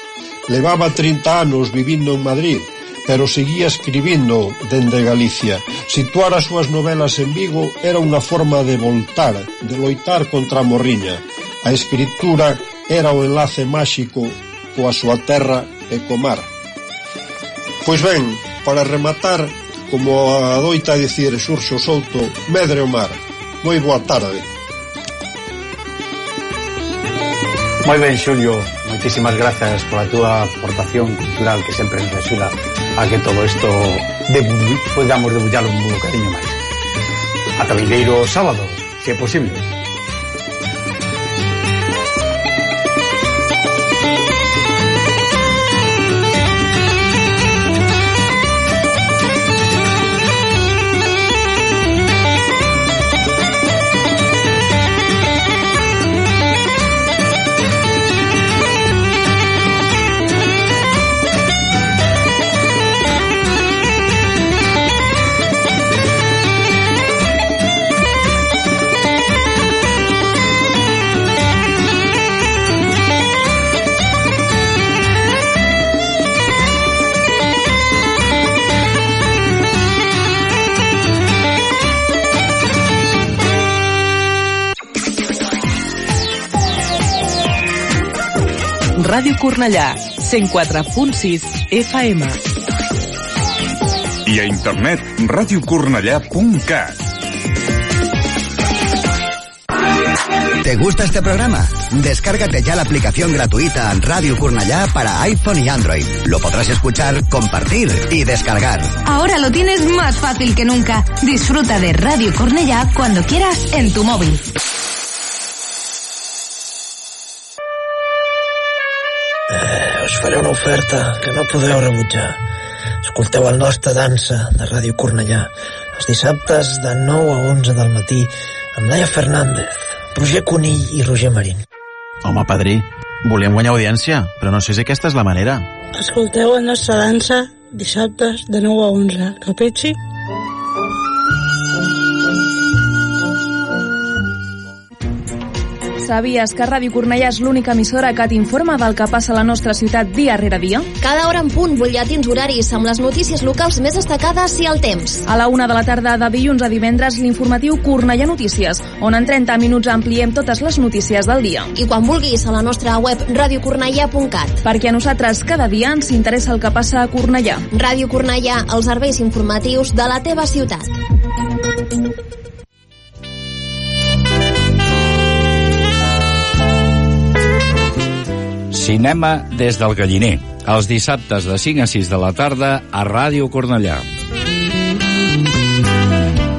Levaba 30 anos vivindo en Madrid, pero seguía escribindo dende Galicia. Situar as súas novelas en Vigo era unha forma de voltar, de loitar contra a morriña. A escritura era o enlace máxico coa súa terra e co mar. Pois ben, para rematar, como adoita dicir Xurxo Souto, medre o mar. Moi boa tarde. Moi ben, Xulio, moitísimas grazas pola túa aportación cultural que sempre nos axuda a que todo isto podamos debullar un bocadiño máis. Ata vindeiro sábado, se é posible. Ràdio Cornellà, 104.6 FM. I a internet, radiocornellà.cat. ¿Te gusta este programa? Descárgate ya la aplicación gratuita Radio Cornellà para iPhone y Android. Lo podrás escuchar, compartir y descargar. Ahora lo tienes más fácil que nunca. Disfruta de Radio Cornellà cuando quieras en tu móvil. Us faré una oferta que no podeu rebutjar. Escolteu el nostre dansa de Ràdio Cornellà els dissabtes de 9 a 11 del matí amb Laia Fernández, Roger Conill i Roger Marín. Home, padrí, volem guanyar audiència, però no sé si aquesta és la manera. Escolteu la nostra dansa dissabtes de 9 a 11, capitxi? Sabies que Ràdio Cornellà és l'única emissora que t'informa del que passa a la nostra ciutat dia rere dia? Cada hora en punt, butlletins horaris amb les notícies locals més destacades i el temps. A la 1 de la tarda de dilluns a divendres, l'informatiu Cornellà Notícies, on en 30 minuts ampliem totes les notícies del dia. I quan vulguis, a la nostra web radiocornellà.cat. Perquè a nosaltres cada dia ens interessa el que passa a Cornellà. Ràdio Cornellà, els serveis informatius de la teva ciutat. Cinema des del Galliner, els dissabtes de 5 a 6 de la tarda a Ràdio Cornellà.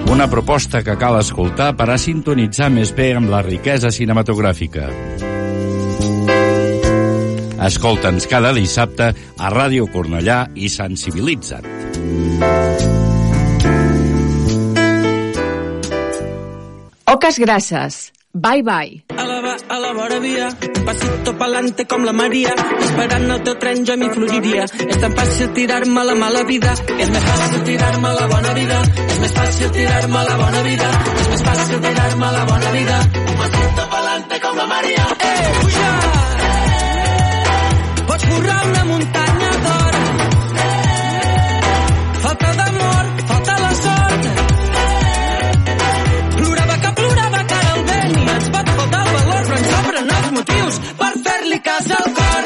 Una proposta que cal escoltar per a sintonitzar més bé amb la riquesa cinematogràfica. Escolta'ns cada dissabte a Ràdio Cornellà i sensibilitza't. Oques grasses. Bye bye. A la vora via, pasito pa'lante com la Maria, esperant el teu tren jo m'hi fluiria. És tan fàcil tirar-me a la mala vida, és més fàcil tirar-me a la bona vida, és més fàcil tirar-me a la bona vida, és més fàcil tirar-me a la bona vida. Pasito pa'lante com la Maria. Puja! Pots currar una muntanya d'or. Falta d'amor, falta la sort. Plorava que ara el vent i ens pot faltar el valor, però ens sobren els motius per fer-li cas al cor.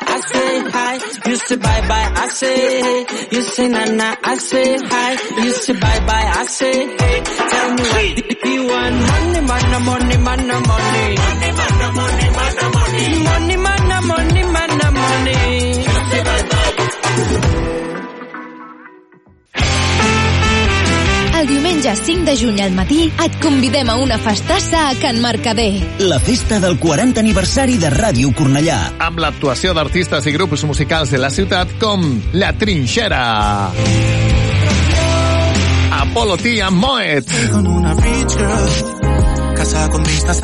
I say hi, you say bye bye, I say hey, you say na na, I say hi, you say bye bye, I say hey. Tell me what do you want? Money, money, money, money, money. Money, money, money, money, money. Money, money, money, money, money. You say bye bye. El diumenge 5 de juny al matí et convidem a una festassa a Can Mercader. La festa del 40 aniversari de Ràdio Cornellà. Amb l'actuació d'artistes i grups musicals de la ciutat com La Trinxera, Apolo T and Moet,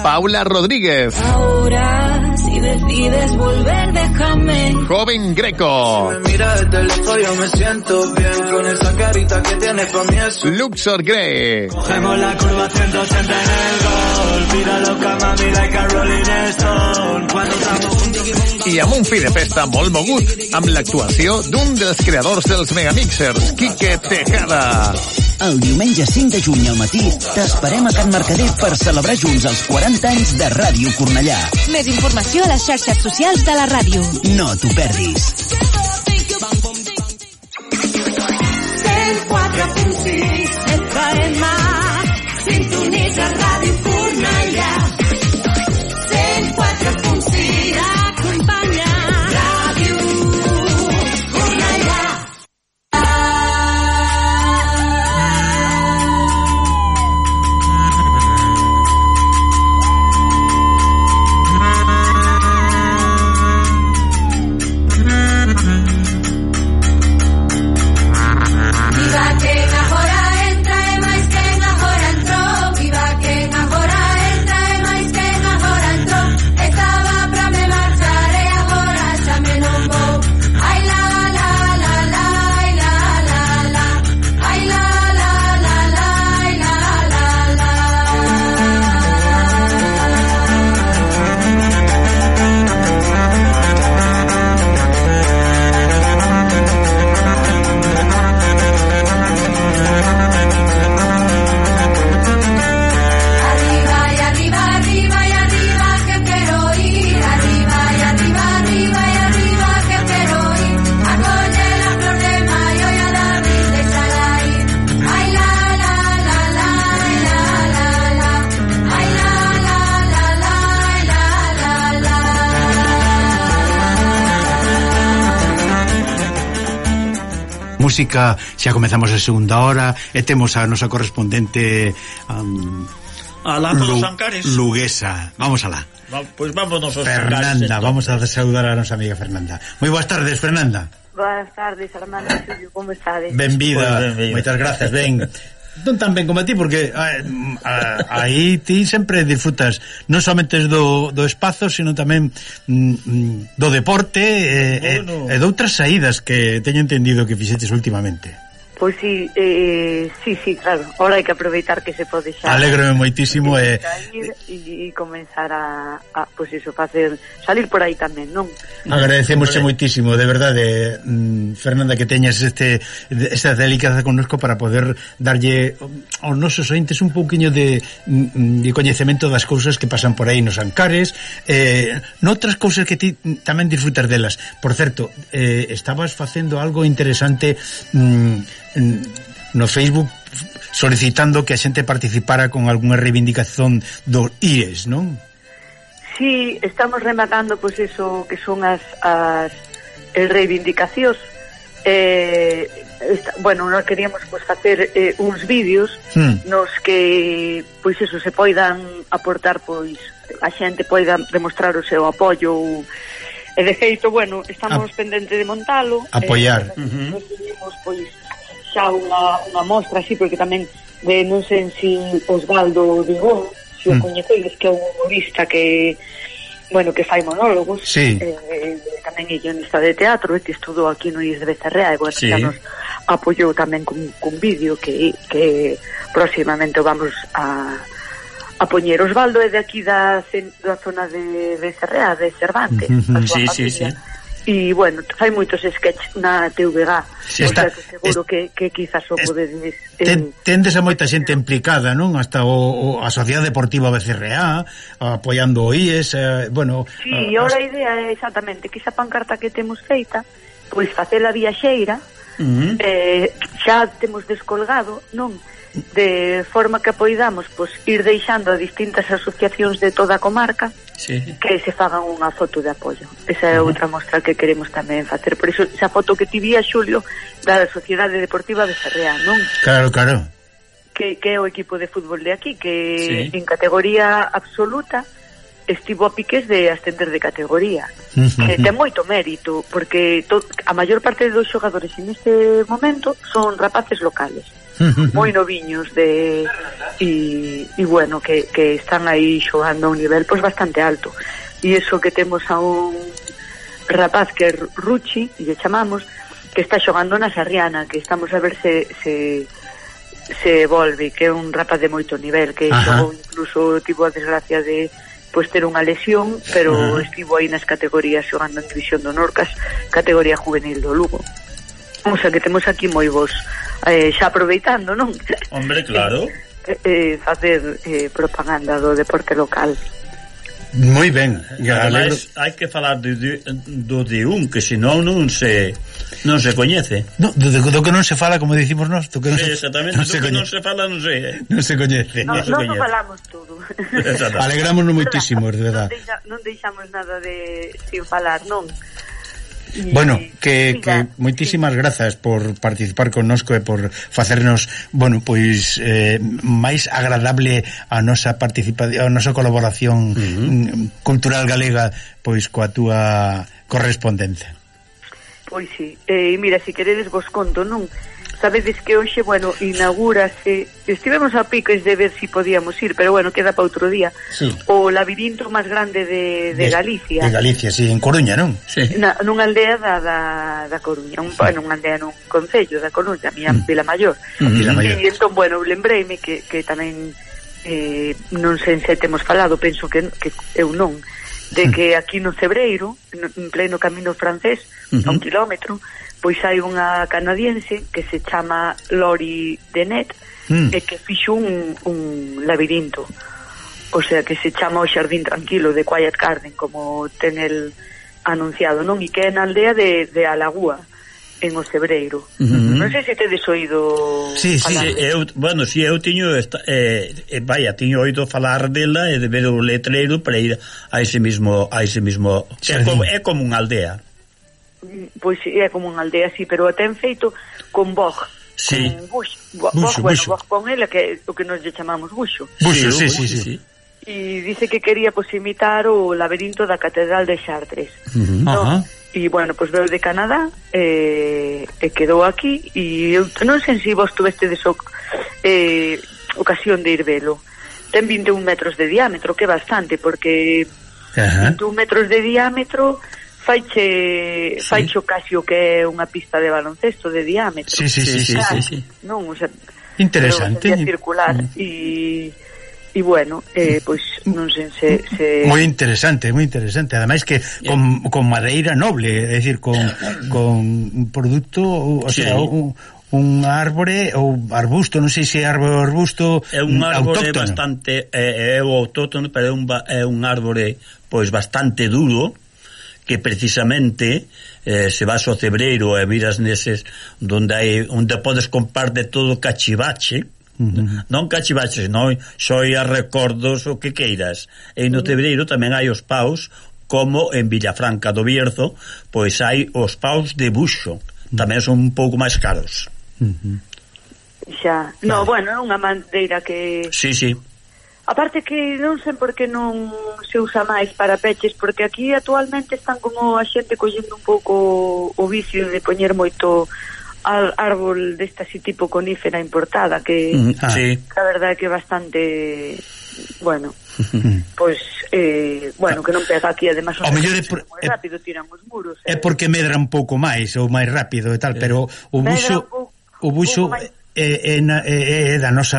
Paula Rodríguez, Ahora, si decides volver, déjame. Joven Greco, Si me mira desde lejos yo me siento bien con esa carita que tienes pa' mí es Luxor Grey, Cogemos la curva 180 en el gol. Tíralo cama, mira que Rolling Stone. Cuando estamos juntos i amb un fi de festa molt mogut, amb l'actuació d'un dels creadors dels Megamixers, Quique Tejada. El diumenge 5 de juny al matí t'esperem a Can Mercader per celebrar junts els 40 anys de Ràdio Cornellà. Més informació a les xarxes socials de la ràdio. No t'ho perdis. 104.6 FM, sintonitza Ràdio Cornellà. 104.6 acompanya Ràdio Cornellà. Viva quen agora entra e máis quen agora entrou. Viva quen agora entra e máis quen agora entrou. Estaba pra me marchar e agora xa me non vou. Ai la la la la, ai la la la, ai la la la la, ai la la la. Arriba y arriba, arriba y arriba que quiero ir. Arriba y arriba, arriba y arriba que quiero ir. A coger la flor de mayo y a David déjala ir. Ay la la la la, ay la la la, ay la la la la, ay la la la. Música, xa comezamos a segunda hora e temos a nosa correspondente a Lazo dos Ancares, luguesa. Vamos alá. Pois vámonos aos Fernanda, vamos a saludar a nosa amiga Fernanda. Moi boas tardes, Fernanda. Boas tardes, Armando e Xulio, como estades? Benvida, moitas gracias, ben. Non tan ben como a ti, porque aí ti sempre disfrutas non somente do espazo, sino tamén do deporte e de outras saídas que teño entendido que fixetes últimamente. Pois sí, sí, claro. Ahora hai que aproveitar que se pode xa. Alégrome moitísimo e comenzar a pois iso, facer salir por aí tamén, non? Agradecemosche moitísimo, de verdade, Fernanda, que teñas esta delicada connosco para poder darlle aos nosos ointes un pouquiño de coñecemento das cousas que pasan por aí nos Ancares, noutras cousas que ti tamén disfrutas delas. Por certo, estabas facendo algo interesante no Facebook, solicitando que a xente participara con algunha reivindicación dos IRES, non? Sí, estamos rematando pois iso que son as reivindicacións. Bueno, nós queríamos pois facer uns vídeos nos que pois iso se poidan aportar, pois a xente poida demostrar o seu apoio. E de feito, bueno, estamos pendente de montalo, apoiar. Nos pedimos pois xa unha mostra así, porque tamén non sei se Osvaldo Digón, se o coñecedes, que é un humorista que, bueno, que fai monólogos, sí. Tamén é guionista de teatro, que estudou aquí no IES de Becerrea, e bueno, sí. Xa nos apoiou tamén cun vídeo que próximamente o vamos a poñer. Osvaldo é de aquí da zona de Becerrea, de Cervantes, sí. E, bueno, fai moitos sketches na TVG, seguro que quizás o podedes... Tendes a moita xente implicada, non? Hasta a Sociedade Deportiva Becerrea, apoiando o IES, bueno... Sí, ahora a idea é exactamente que esa pancarta que temos feita, pois facela viaxeira, xa temos descolgado, non? De forma que apoidamos, pois, ir deixando a distintas asociacións de toda a comarca, sí, que se fagan unha foto de apoio. Esa é outra mostra que queremos tamén facer. Por iso, esa foto que ti vía, Xulio, da Sociedade Deportiva de Becerrea, non? Claro. que é o equipo de fútbol de aquí, que en categoría absoluta estivo a piques de ascender de categoría, que ten moito mérito, porque a maior parte dos xogadores en este momento son rapaces locales, moi noviños e bueno, que están aí xogando a un nivel pois bastante alto, e iso que temos a un rapaz que é Ruchi, e lle chamamos, que está xogando na Sarriana, que estamos a ver se volve, que é un rapaz de moito nivel, que xogou, incluso tivo a desgracia de pois ter unha lesión, pero estivo aí nas categorías xogando en División do Norcas, categoría juvenil do Lugo. O sea que temos aquí moi vos xa aproveitando, non? Hombre, claro. Facer propaganda do deporte local. Moi ben. Ademais, hai que falar do de un, que senón non se coñece. No, do que non se fala, como dicimos nós, do que non exactamente, do que non se fala non se non se coñece. Non falamos todo. Alegrámonos moitísimo, de verdad. Non deixamos nada sin falar, non? Bueno, que moitísimas grazas por participar connosco e por facernos, bueno, pois máis agradable a nosa participación, a nosa colaboración cultural galega, pois coa túa correspondencia. Pois sí, mira, se queredes vos conto, non? Sabedes que hoxe, bueno, inaugúrase, estivemos a piques de ver si podíamos ir, pero bueno, queda para outro día, o labirinto máis grande de Galicia. De Galicia, sí, en Coruña, non? Sí. Nunha aldea da Coruña, nunha aldea nun concello da Coruña, a miña Vila Maior. E entón, bueno, lembreime que tamén, non sei se temos falado, penso que eu non, de que aquí no Cebreiro, en pleno camino francés, a 1 kilómetro, pois hai unha canadiense que se chama Lori Denet e que fixo un labirinto, o sea, que se chama o Xardín Tranquilo de Quiet Garden, como ten el anunciado, non? E que é na aldea de Alagúa, en o Cebreiro. Non sei se tedes oído falar. Eu tiño tiño oído falar dela e de ver o letreiro para ir a ese mismo é como unha aldea. Pois é como unha aldea así, pero ten feito con bog, con buxo, con ela, que é o que nos lle chamamos buxo. Buxo, sí. E dice que quería imitar o labirinto da Catedral de Chartres. E bueno, pois veo de Canadá e quedou aquí, e eu non sei se vos tuvestedes ocasión de ir velo. Ten 21 metros de diámetro, que é bastante, porque 21 metros de diámetro faicho casi o que é unha pista de baloncesto de diámetro. Sí. Non, o sea, interesante. Circular e bueno, pois non sei se moi interesante. Ademais que con madeira noble, é dicir, con un produto, o sea, un árbore ou arbusto, non sei se é árbore ou arbusto, é un árbore bastante é o autóctono, pero é un árbore pois bastante duro, que precisamente se vas ao Cebreiro e miras neses onde podes comprar de todo cachivache, non cachivache, non xoia, recordos, o que queiras, e no Cebreiro tamén hai os paus, como en Villafranca do Bierzo, pois hai os paus de buxo, tamén son un pouco máis caros. Xa, no, bueno, é unha madeira que sí. Aparte que non sei por que non se usa máis para peches, porque aquí actualmente están como a xente collendo un pouco o vicio de poñer moito árbol desta así tipo conífera importada, que a verdade é que é bastante, bueno, pois bueno, que non pega aquí, además o mellor moi rápido tiran os muros. É porque medra un pouco máis ou máis rápido e tal, pero o buxo é da nosa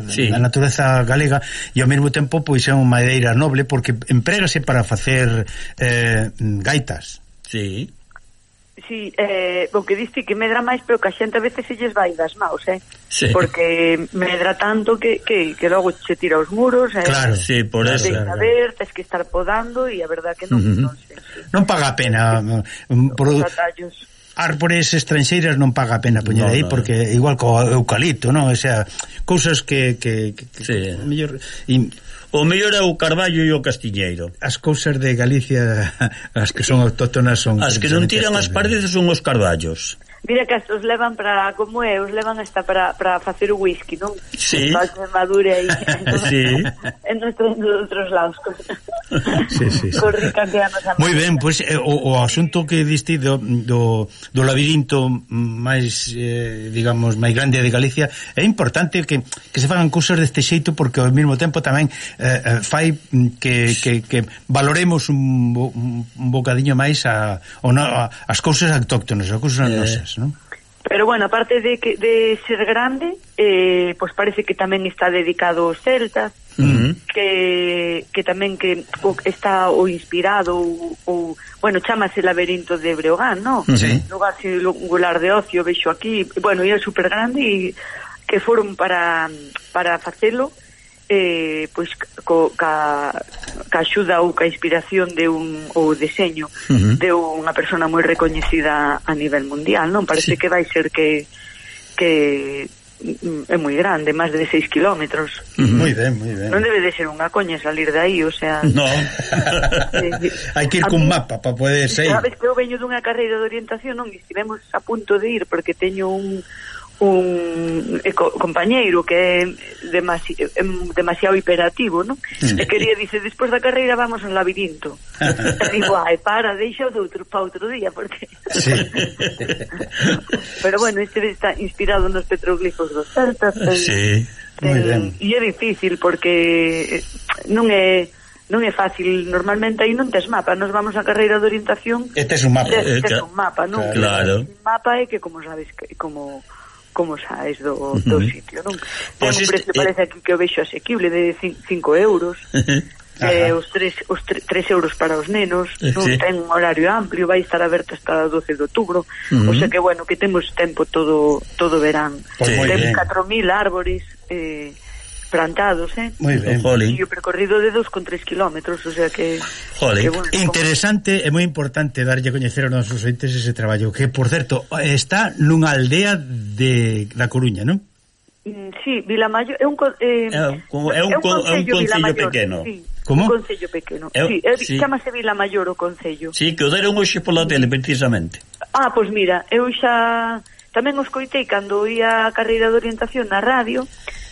da natureza galega, e ao mesmo tempo pois é unha madeira noble, porque emprégase para facer gaitas. Sí, o que diste que medra máis, pero que a xente a veces se lles vai das maus, porque medra tanto que logo se tira os muros, claro, por eso tes que estar podando, e a verdad que non paga a pena árbores estranxeiras, non paga a pena poñer aí, porque igual co eucalipto, non? O sea, cousas que mellor o mellor é o carballo e o castiñeiro. As cousas de Galicia, as que son autóctonas, son as que non tiran as paredes, son os carballos. Mira que estos levan para, como é, os levan hasta para facer o whisky, non? Sí. Para que madure aí. Sí. En outros lados. Sí. Moi ben, pois o asunto que diste do labirinto máis, digamos, máis grande de Galicia, é importante que se fagan cousas deste xeito, porque ao mesmo tempo tamén fai que valoremos un bocadiño máis as cousas autóctonas, as cousas nosas, non? Pero bueno, aparte de ser grande, pues parece que tamén está dedicado aos celtas, que tamén que está o inspirado ou bueno, chamase Laberinto de Breogán, ¿no? Sí. Lugar singular de ocio, vexo aquí, bueno, e é super grande e que foron para facelo pois ca axuda ou ca inspiración de o deseño de unha persona moi recoñecida a nivel mundial, non? Parece que vai ser que é moi grande, máis de 6 kilómetros. Moi ben. Non debe de ser unha coña salir de aí, o sea... No. Hai que ir cun mapa para poder sair. Sabes que eu veño dunha carreira de orientación, non? E estivemos a punto de ir porque teño un compañeiro que é demasiado hiperactivo, non? E quería, dice, despois da carreira vamos ao labirinto. E digo, deixa para outro día, porque... Sí. Pero bueno, este está inspirado nos petroglifos dos celtas. Sí, moi ben. E é difícil porque non é fácil, normalmente aí non tes mapa, nos vamos a carreira de orientación e tes un mapa, un mapa, non? Claro. Un mapa é que, como sabes, como saes do sitio, non? Pues ten un precio, parece aquí que o vexo asequible de 5 euros, os 3 euros para os nenos, non? Ten un horario amplio, vai estar aberto hasta 12 de outubro, o sea que, bueno, que temos tempo todo verán. Ten 4.000 árbores plantados, moi ben. E o percorrido de 2,3 kilómetros, o sea que... bueno, interesante e moi importante darlle a coñecer aos nosos ointes ese traballo, que, por certo, está nunha aldea da Coruña, non? Sí, Vilamayor é un concello pequeno. Sí, como? Un concello pequeno. Sí, chamase Vilamayor o concello. Sí, que o deron hoxe pola tele, precisamente. Pois mira, eu xa tamén os coitei cando ia a carreira de orientación na radio,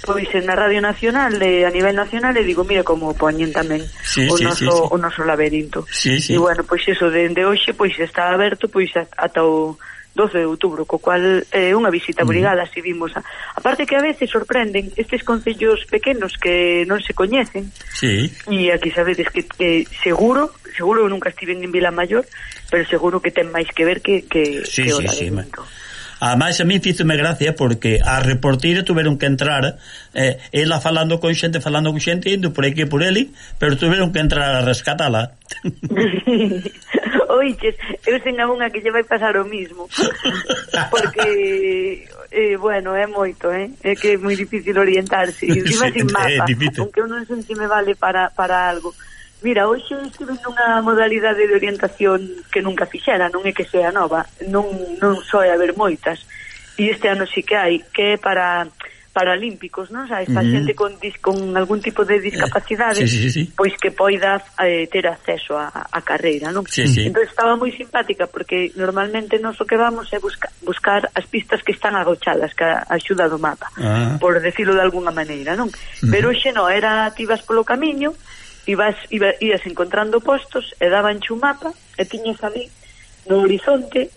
pois na Radio Nacional, a nivel nacional, e digo, mira como poñen tamén o noso labirinto. E bueno, pois eso, dende hoxe, pois está aberto pois ata o 12 de outubro, co cual é unha visita obrigada, así vimos. Aparte que a veces sorprenden estes concellos pequenos que non se coñecen, e aquí sabedes que seguro eu nunca estive en Vilamayor, pero seguro que ten máis que ver que o labirinto. Ademais, a mí fíxome gracia porque a reportera tuveron que entrar ela falando con xente, indo por aquí e por eli, pero tuveron que entrar a rescatala. Oiches, eu sen a unha que lle vai pasar o mismo, porque bueno, é moito, é que é moi difícil orientarse, e encima sin mapa, aunque eu non sei se me vale para algo. Mira, hoxe estive nunha modalidade de orientación que nunca fixera, non é que sea nova, non soe haber moitas, e este ano sí que hai, que é para paralímpicos, non? Sabes, para xente con algún tipo de discapacidade, pois que poida ter acceso a carreira, non? Entón estaba moi simpática, porque normalmente nós o que vamos é buscar as pistas que están agochadas, que axuda do mapa, por decirlo de alguna maneira, non? Pero hoxe non, ti vas polo camiño, ibas encontrando postos e dabanche un mapa e tiñes ali no horizonte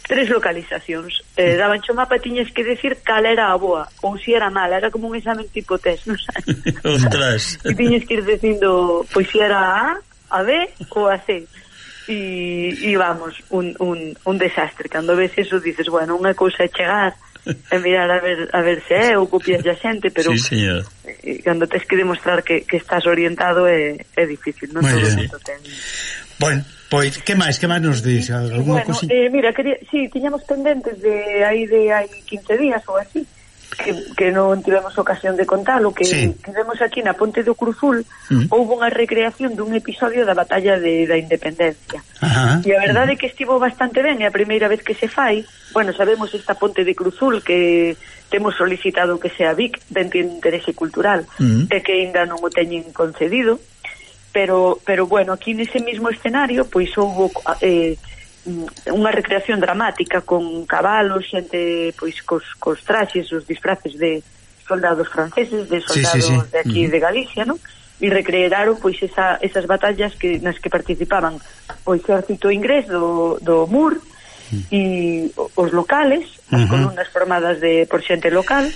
3 localizacións, dabanche un mapa e tiñes que decir cal era a boa ou si era mala, era como un examen tipo test, non sabes? Ostras. E tiñes que ir dicindo pois si era a B ou a C, e vamos, un desastre. Cando ves eso dices, bueno, unha cousa é chegar e mirar a ver se é ou copias a xente, pero cando tens que demostrar que estás orientado é difícil, non todo o mundo ten. Bueno, pois, que máis nos dis? Alguna cousa? Mira, tiñamos pendentes de hai 15 días ou así, que non tivemos ocasión de contalo, que vemos aquí na Ponte do Cruzul, houve unha recreación dun episodio da Batalla da Independencia. E a verdade é que estivo bastante ben, é a primeira vez que se fai. Bueno, sabemos esta Ponte de Cruzul que temos solicitado que sea BIC, de interese cultural, e que ainda non o teñen concedido, pero bueno, aquí nese mismo escenario pois houve unha recreación dramática con cabalos, xente pois cos traxes, os disfraces de soldados franceses, de soldados de aquí de Galicia, non? E recrearon pois esas batallas nas que participaban o exército inglés do Moor e os locales, as columnas formadas por xente local,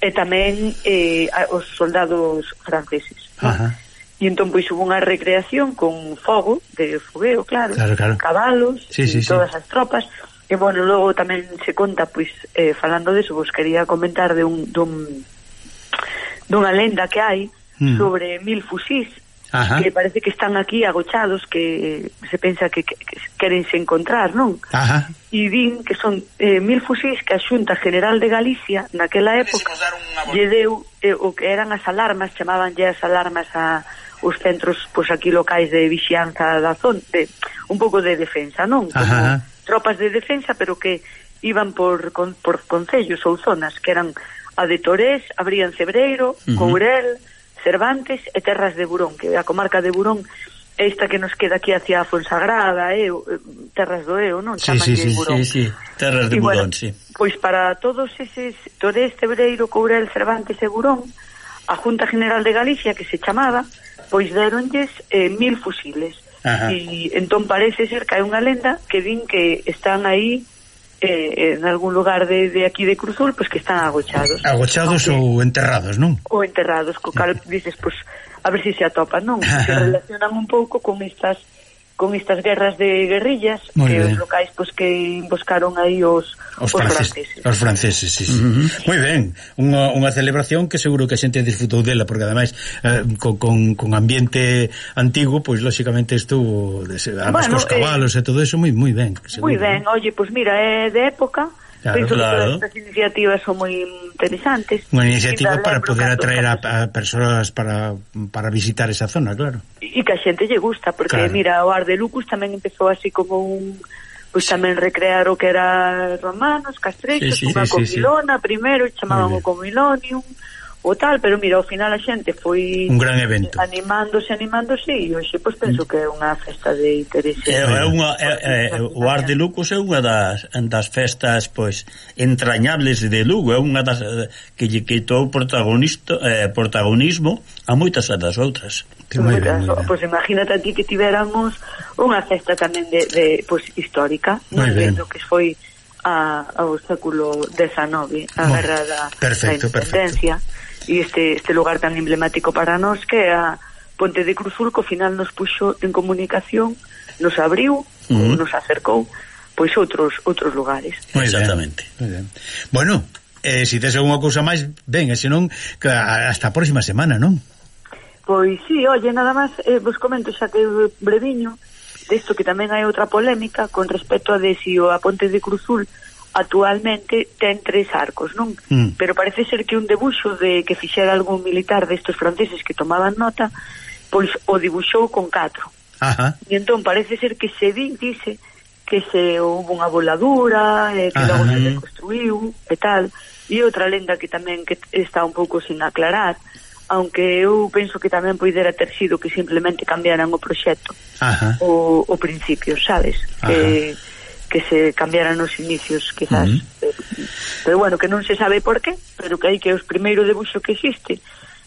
e tamén os soldados franceses. E entón pois hubo unha recreación con fogo, de fogueo, claro. Cabalos, todas as tropas. E bueno, logo tamén se conta, pois, falando deso, vos quería comentar de dunha lenda que hai sobre 1000 fusís que parece que están aquí agochados, que se pensa que querense encontrar, non? E din que son 1000 fusís que a Xunta General de Galicia naquela época lle deu o que eran as alarmas, chamabanlle as alarmas os centros, pois aquí locais de vixianza da zona, un pouco de defensa, non? Como tropas de defensa, pero que iban por concellos ou zonas, que eran a de Torés, abrían Cebreiro, Courel, Cervantes e Terras de Burón, que a comarca de Burón esta que nos queda aquí hacia Fonsagrada, Terras do Eo, non? Burón. Sí, Terras de Burón, sí. Pois para todos eses Torés, Cebreiro, Courel, Cervantes e Burón, a Junta General de Galicia, que se chamaba, pois deronlles 1000 fusiles. E entón parece ser que hai unha lenda que din que están aí en algún lugar de aquí de Cruzul, pois que están agochados. Agochados ou enterrados, non? Ou enterrados, co cal dices, pois, a ver se atopan, non? Se relacionan un pouco con estas guerras de guerrillas que os locais pois que emboscaron aí os franceses. Os franceses, sí. Moi ben, unha celebración que seguro que a xente disfrutou dela, porque ademais con ambiente antigo, pois lóxicamente estuvo además cos cabalos e todo eso moi ben. Moi ben, oye, pois mira, é de época. Penso que todas estas iniciativas son moi interesantes. Unha iniciativa para poder atraer a persoas para visitar esa zona, claro. E que a xente lle gusta, porque mira, o Ar de Lucus tamén empezou así como pois tamén recrear o que era romanos, castrexos, unha comilona primeiro, chamaban o comilonium o tal, pero mira, ao final a xente foi un gran evento, animándose e hoxe pois penso que é unha festa de interese. O Ar de Lucus é unha das festas pois entrañables de Lugo, é unha das que lle quitou protagonismo a moitas das outras. Pois imagínate aquí que tiveramos unha festa tamén de pois histórica, non vendo que foi ao século XIX, a guerra da independencia. E este lugar tan emblemático para nós que é a Ponte de Cruzul, que ao final nos puxo en comunicación, nos abriu, nos acercou pois outros lugares. Exactamente. Bueno, se tes alguna cousa máis, ben, e senón hasta a próxima semana, non? Pois sí, oye, nada máis vos comento xa que breviño desto, que tamén hai outra polémica con respecto a de si a Ponte de Cruzul actualmente ten 3 arcos, non? Pero parece ser que un debuxo de que fixera algún militar destos franceses que tomaban nota, pois o dibuxou con 4. E entón parece ser que se dice que se houve unha voladura, que logo se reconstruiu e tal. E outra lenda que tamén que está un pouco sin aclarar, aunque eu penso que tamén poidera ter sido que simplemente cambiaran o proxecto o principio, sabes? Que se cambiaran os inicios, quizás. Pero bueno, que non se sabe por qué, pero que hai que os primeiro debuxo que existe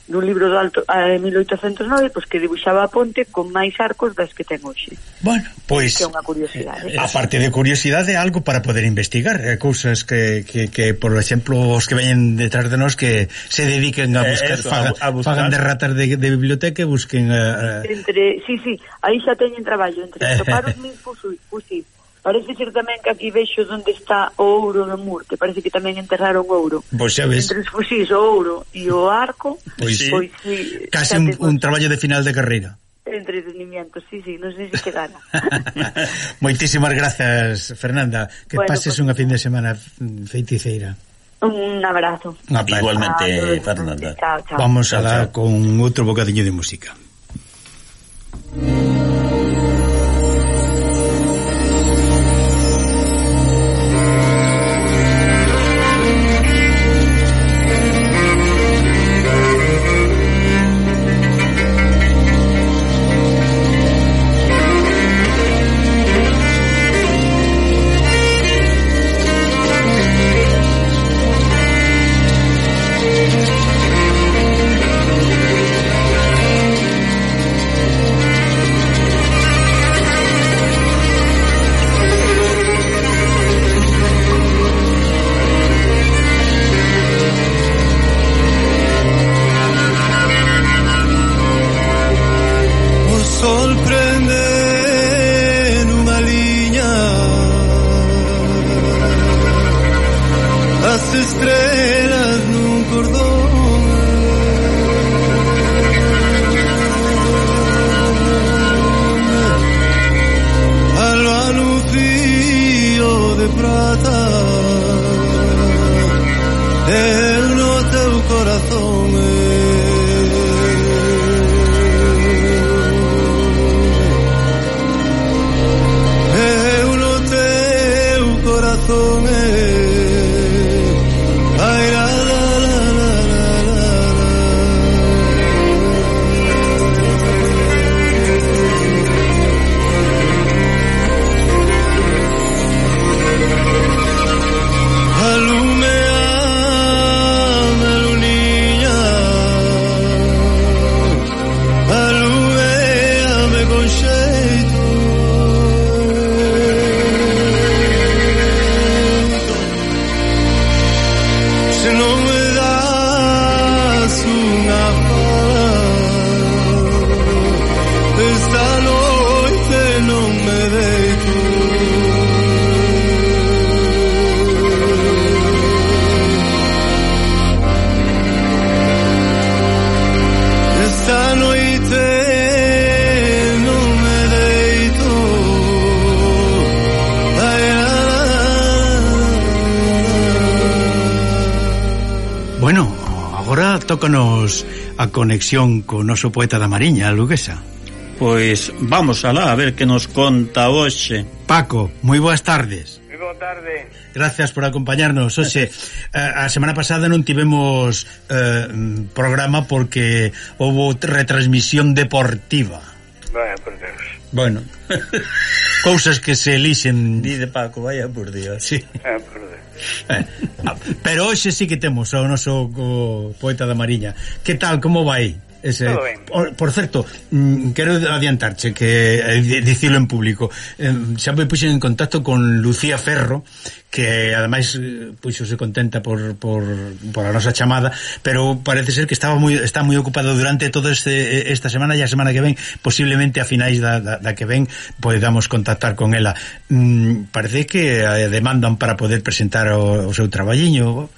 dun libro do alto de 1809, pois que dibuxaba a ponte con máis arcos das que ten hoxe. Bueno, pois que é unha curiosidade. A parte de curiosidade, algo para poder investigar, cousas que por exemplo, os que veñen detrás de nós que se dediquen a buscar, fagan de ratas de biblioteca e busquen sí, aí xa teñen traballo entre topar os 1000 fusis. Parece ser tamén que aquí vexo onde está o ouro do Moor, que parece que tamén enterraron ouro. Pois xa ves. Entre os fusís, o ouro e o arco, pois sí. Casi un traballo de final de carreira. Entretenimiento, sí, non sei se quedara. Moitísimas grazas, Fernanda. Que pases unha fin de semana feiticeira. Un abrazo. Igualmente, Fernanda. Chao. Vamos a dar con outro bocadiño de música. agora tócanos a conexión co noso poeta da Mariña, Luguesa. Pois vamos alá a ver que nos conta hoxe. Paco, moi boas tardes. Moi boa tarde. Gracias por acompañarnos. Oxe, a semana pasada non tivemos programa porque houve retransmisión deportiva. Vaya por Deus. Bueno, cousas que se elixen. Dide Paco, vaya por Dios. Sí. Por Deus. Pero hoxe sí que temos ao noso poeta da Mariña. Que tal, como vai? Todo ben. Por certo, quero adiantarche que dicilo en público, xa me puxen en contacto con Lucía Ferro, que ademais puxose contenta por a nosa chamada, pero parece ser que está moi ocupado durante toda esta semana, e a semana que ven, posiblemente a finais da que ven podamos contactar con ela. Parece que demandan para poder presentar o seu traballiño.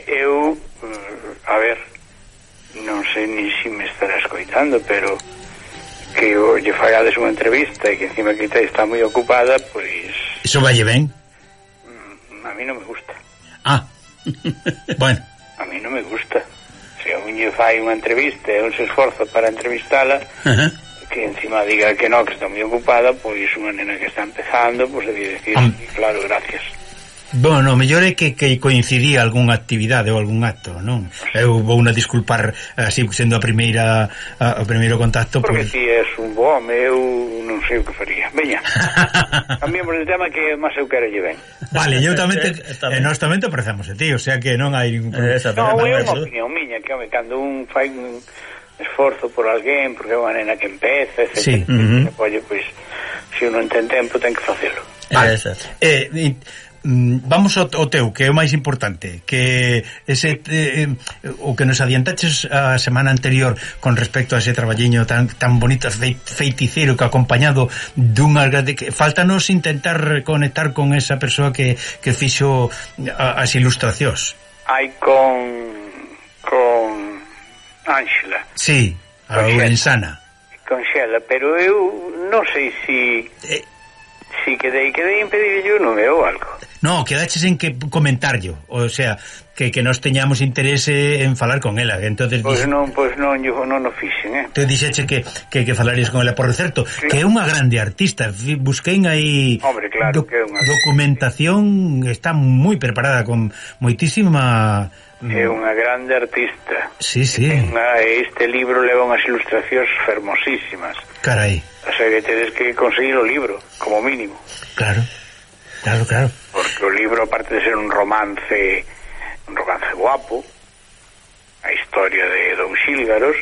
Eu a ver, non sei ni se me estará escoitando, pero que lle fagades unha entrevista e que encima que está moi ocupada, pois... Iso valle ben? A mí non me gusta. Bueno. A mí non me gusta. Se a un lle fai unha entrevista e un se esforza para entrevistala, que encima diga que non, que está moi ocupada, pois unha nena que está empezando, pois debe decir, claro, gracias. Bueno, mellor é que coincidía algunha actividade ou algún acto, non? Eu vou unha disculpar así sendo o primeiro contacto porque ti és un bo home, eu non sei o que faría. Veña, cambiamos de tema que máis eu quero lle ben. Vale, eu tamén nós tamén te apreciamos a ti, o sea que non hai ningún problema. Non, é unha opinión miña, que home, cando un fai un esforzo por alguén, porque é unha nena que empeza, etc. Pois, se un non ten tempo, ten que facelo. Vale, vamos ao teu, que é o máis importante, que ese o que nos adiantaches a semana anterior con respecto a ese traballiño tan bonito, feiticeiro, que acompañado dunha faltanos intentar conectar con esa persoa que fixo as ilustracións. Hai con Ángela. Sí, a Ourensana. Con Xela, pero eu non sei si quedei impedir non veo algo. No, quedaches en que comentarlo, o sea, que nos teñamos interese en falar con ela, entonces pois non o fixen, Te dixeche que falarías con ela, por certo, que é unha grande artista. Busquei aí documentación, está moi preparada, con moitísima... É unha grande artista. Sí. Este libro leva unhas ilustracións fermosísimas. Carai. O sea, que tedes que conseguir o libro, como mínimo. Claro. Porque o libro, aparte de ser un romance guapo, a historia de Don Xílgaros,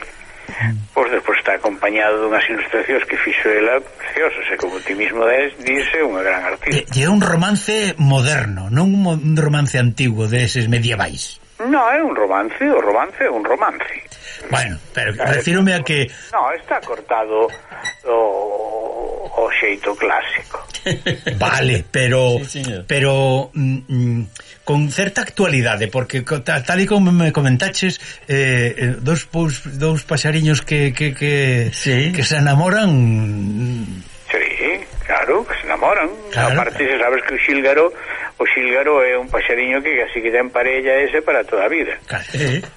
pois despois está acompañado dunhas ilustracións que fixo ela preciosas, e como ti mismo dice, unha gran artista. E é un romance moderno, non un romance antigo deses medievais. Non, é un romance, o romance é un romance. Bueno, pero refírome a que... Non, está cortado o xeito clásico. Vale, pero con certa actualidade, porque tal e como me comentaches, dous paxariños que se enamoran. Sí, claro, que se enamoran. Aparte, sabes que o xílgaro é un paxariño que así que ten parella ese para toda a vida.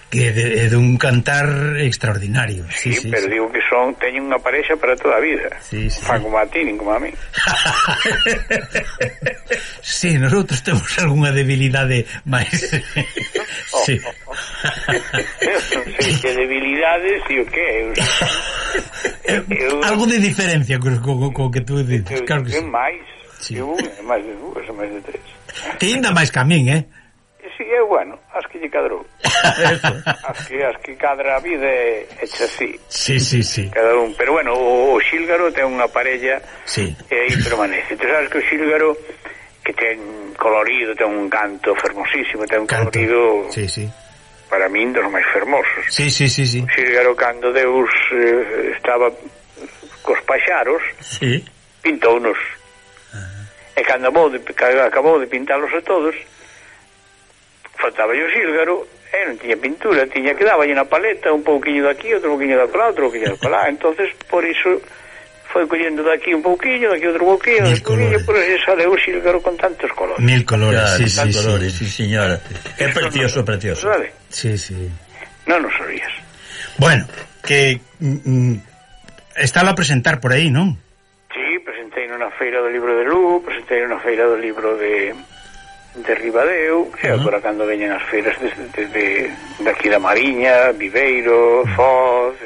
Que é dun cantar extraordinario. Sí, pero digo que teñen unha parexa para toda a vida. Fan como a ti, nin como a mí. Sí, nosotros temos algunha debilidade máis. Sí. Non sei que debilidades e o que algo de diferencia co que tú dices. Claro que sí. máis máis de dúas ou máis de tres. Ti ainda máis que a min, Sí, bueno, as que lle cadrou. as que cadra a vida é hecha así. Sí. Cada un, pero bueno, o xílgaro ten unha parella e aí permanece. Tú sabes que o xílgaro que ten colorido, ten un canto fermosísimo, ten un colorido para min dos máis fermosos. Sí. O xílgaro, cando Deus estaba cos paxaros, pintounos. E cando acabou de pintalos a todos, faltaba o xílgaro e non tiña pintura, tiña que daballe na paleta un pouquiño daqui, outro pouquiño de acolá, outro pouquiño de acolá. Entonces, por iso foi collendo daqui un pouquiño, daqui outro pouquiño, por iso sale o xílgaro con tantos colores. 1000 colores, sí, señora. É precioso. Vale? Sí. Non nos oías. Bueno, que está a presentar por aí, non? Sí, presentei nunha feira do libro de Lugo, presentei nunha feira do libro de Ribadeo, e agora cando veñen as feiras de aquí da Mariña, Viveiro, Foz,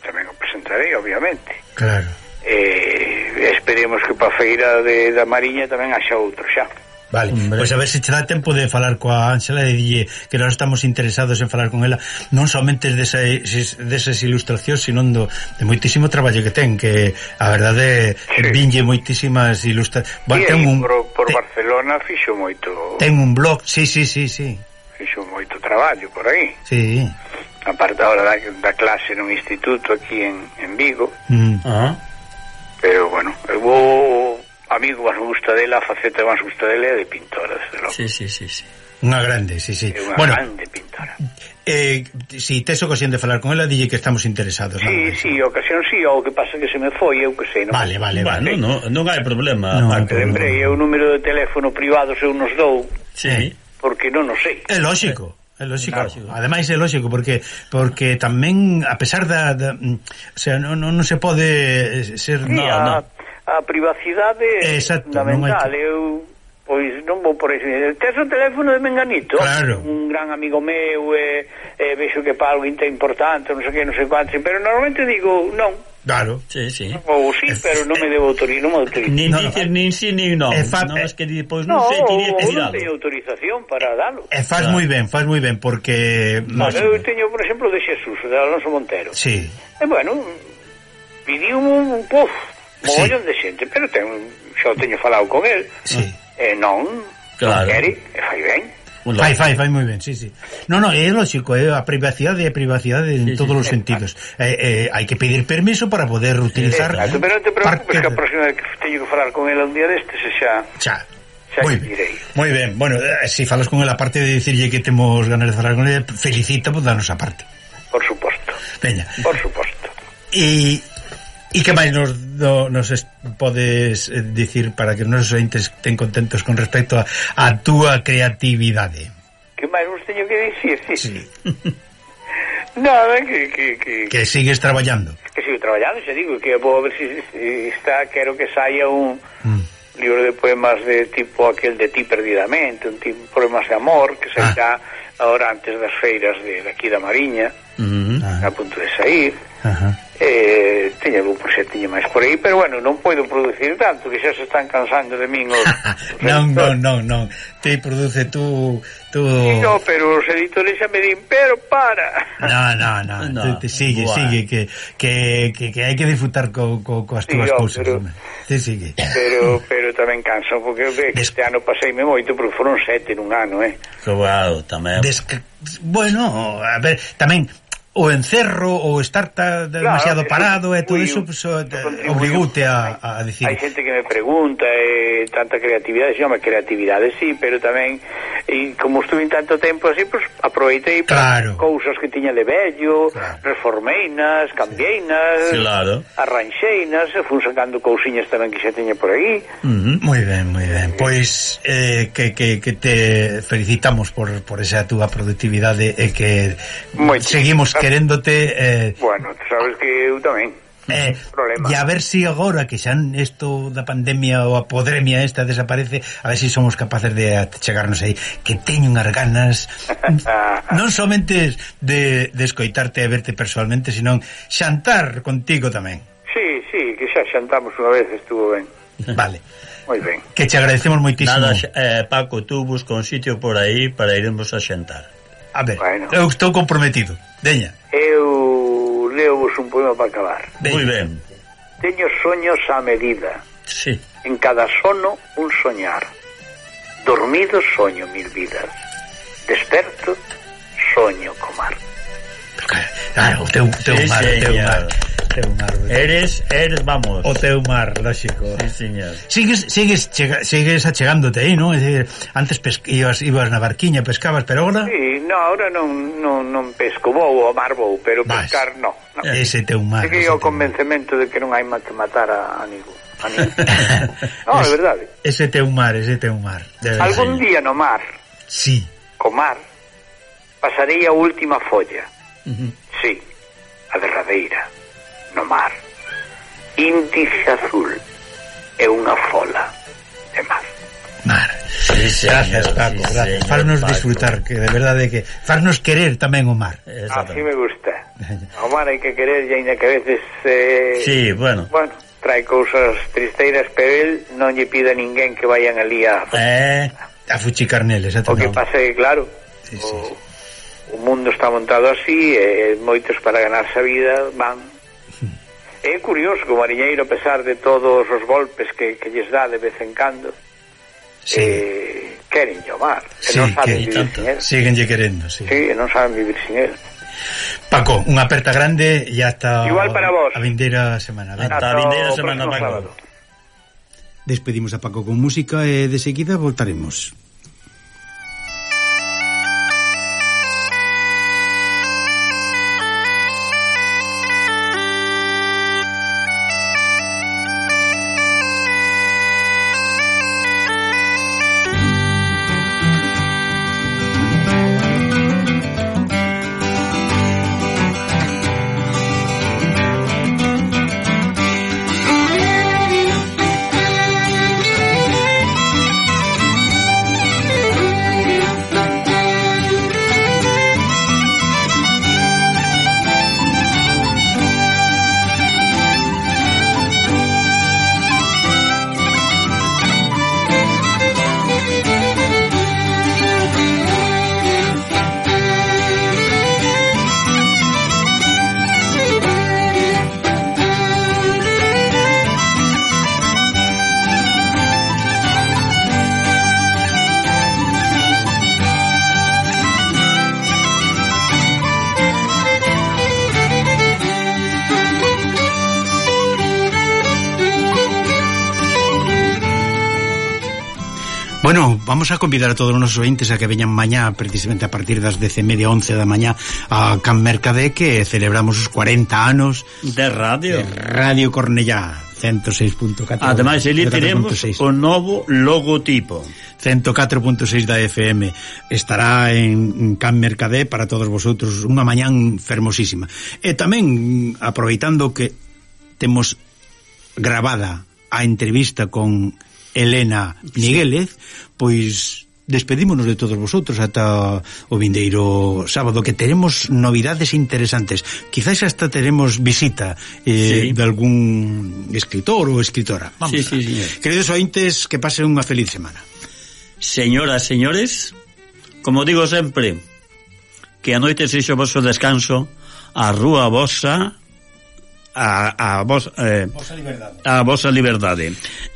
tamén o presentarei, obviamente. Claro. Esperemos que para a feira da Mariña tamén haxa outro xa. Vale, pois a ver se che dá tempo de falar coa Ángela e dille que nós estamos interesados en falar con ela non somente desas ilustracións, sino de moitísimo traballo que ten, que a verdade vinlle moitísimas ilustracións. Bueno, por Barcelona fixo moito. Ten un blog, sí. Fixo moito traballo por aí. Sí. Aparte ahora da clase nun instituto aquí en Vigo. Pero bueno, vou amigo máis gusta dela, a faceta máis gusta dela é de pintora, desde logo. Sí. Unha grande, sí. Unha grande pintora. Si tes ocasión de falar con ela, dille que estamos interesados. Sí, ocasión sí, o que pasa que se me foi, eu que sei. Vale. Non hai problema. Lembrei, o número de teléfono privado eu nos dou. Sí. Porque non o sei. É lógico. Ademais é lógico porque tamén a pesar o sea, non se pode ser a privacidade é fundamental. Eu pois non vou por eso. Tes o teléfono de Menganito? Claro. Un gran amigo meu, vexo que para algo importante, non sei que, non sei quanto, pero normalmente digo non. Claro. Sí. Ou sí, pero non me debo autorizar, non me autorizo. Nin dices nin sí nin non. Non, es que pois non sei, tiría que non teño autorización para dalo. Faz moi ben, porque eu teño, por exemplo, de Xesús, de Alonso Montero. Sí. E bueno, pidiu un mogollón de xente, pero xa teño falado con el. Sí. Non quere, e fai ben. Fai moi ben, sí. No, é lógico, a privacidade en todos os sentidos. Hai que pedir permiso para poder utilizar. Exacto, pero non te preocupes que a próxima vez que teño que falar con ela un día destes xa direi. Moi ben, bueno, se falas con ela, aparte de dicirlle que temos ganas de falar con ela, felicita, pues danos a parte. Por suposto. Veña. Por suposto. E que máis nos podes dicir para que nos ointes estén contentos con respecto a túa creatividade? Que máis nos teño que dicir? Sí. Nada, que sigues traballando. Que sigo traballando, xa digo, que vou a ver se está, quero que saia un libro de poemas de tipo aquel de Ti perdidamente, un tipo de poemas de amor, que sairá ahora antes das feiras de aquí da Mariña, a punto de sair. Teño algún proxectinho máis por aí, pero bueno, non podo producir tanto, que xa se están cansando de min non, te produce tú no, pero os editores xa me din, pero para no. Sigue que hai que disfrutar coas túas cousas, te sigue, pero tamén canso, porque este ano paseime moito, porque foron 7 nun ano, Wow, tamén bueno, a ver, tamén o encerro ou estar demasiado parado e todo iso obrigoute a decir. Hai xente que me pregunta tanta creatividade, creatividade sí, pero tamén como estuve en tanto tempo así, pues aproveitei para cousas que tiña de vello, reformeinas, cambieinas, arranxeinas, e fun sacando cousiñas tamén que xa teña por aí. Moi ben. Pois que te felicitamos por esa túa productividade e que seguimos queréndote. Bueno, sabes que eu tamén. Problema. E a ver si agora que xa isto da pandemia ou a podremia esta desaparece, a ver si somos capaces de chegarnos aí, que teño unhas ganas non somente de escoitarte e verte personalmente, sino xantar contigo tamén. Sí, que xa xantamos unha vez, estuvo ben. Vale. Moi ben. Que te agradecemos moitísimo. Nada, Paco, tú busca un sitio por aí para iremos a xantar. A ver, eu estou comprometido. Deña. Eu leo-vos un poema para acabar. Moi ben. Teño soños a medida. Sí. En cada sono un soñar. Dormido soño 1000 vidas. Desperto soño comar. Claro, o teu mar. Eres, vamos. O teu mar, lógico. Sí, señor. Sigues achegándote aí, non? Antes ibas na barquiña, pescabas, pero agora... Sí, ahora non pesco, vou ao mar vou, pero pescar non. Ese teu mar. Seguí o convencemento de que non hai que matar a ningún. Non, é verdade. Ese teu mar. Algún día no mar. Sí. Co mar pasarei a última folla. Sí, a derradeira, no mar. Índice azul é unha fola de mar. Mar. Gracias, Paco, gracias. Farnos disfrutar, que de verdade que farnos querer tamén o mar. Así me gusta. O mar hai que querer, e ainda que a veces sí, bueno, trae cousas tristeiras, pero él non lle pide a ninguén que vayan ali a fuchicar neles. O que pasa é que, claro, o mundo está montado así, e moitos para ganarse a vida van. É curioso que o mariñeiro, a pesar de todos os golpes que lles dá de vez en cando, queren o mar, que non saben vivir sin él. Síguenlle querendo, sí, non saben vivir sin él. Paco, unha aperta grande e hasta igual para vos. A vindeira semana. Hasta a vindeira semana, Paco. Despedimos a Paco con música e de seguida voltaremos. Bueno, vamos a convidar a todos os nosos ointes a que veñan mañá, precisamente a partir das 10:30, 11 da mañá, a Can Mercadé, que celebramos os 40 anos de Radio. De Radio Cornellá, 106.4. Ademais, ali teremos o novo logotipo. 104.6 da FM. Estará en Can Mercadé para todos vosotros, unha mañán fermosísima. E tamén, aproveitando que temos grabada a entrevista con Elena Miguélez, pois despedímonos de todos vosotros ata o vindeiro sábado, que teremos novidades interesantes. Quizás hasta teremos visita de algún escritor ou escritora. Vamos queridos ointes, que pasen unha feliz semana. Señoras, señores, como digo sempre, que a noite sexo vosso descanso, a rúa vosa, a vosa liberdade,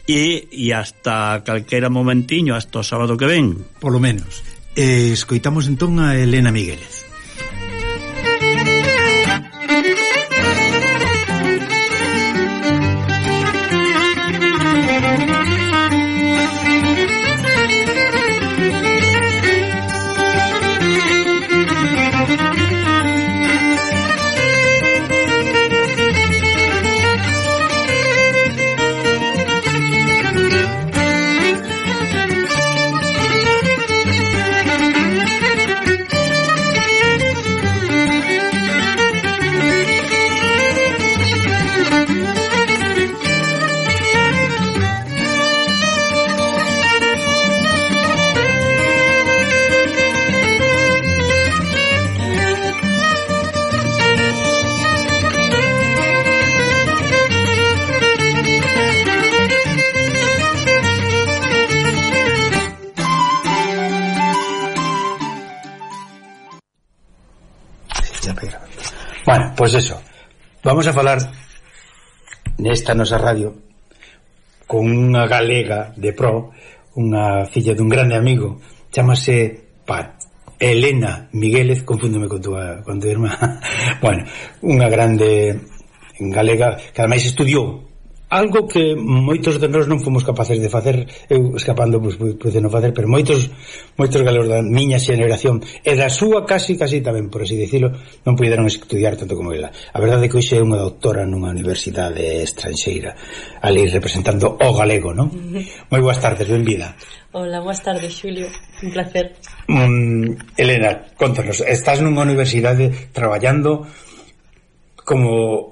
e hasta calquera momentiño, hasta o sábado que ven, polo menos. Escoitamos entón a Elena Miguélez. Bueno, pois eso, vamos a falar nesta nosa radio con unha galega de pro, unha filla dun grande amigo, chamase Elena Miguélez, confúndome con tua irmá. Bueno, unha grande galega que ademais estudiou algo que moitos de nós non fomos capaces de facer, eu escapando pude non facer, pero moitos galegos da miña xeneración e da súa casi tamén, por así dicilo, non puderon estudiar tanto como ela. A verdade é que hoxe é unha doutora nunha universidade estranxeira, ali representando o galego, non? Moi boas tardes, benvida. Hola, boas tardes, Xulio, un placer. Elena, contanos, estás nunha universidade traballando como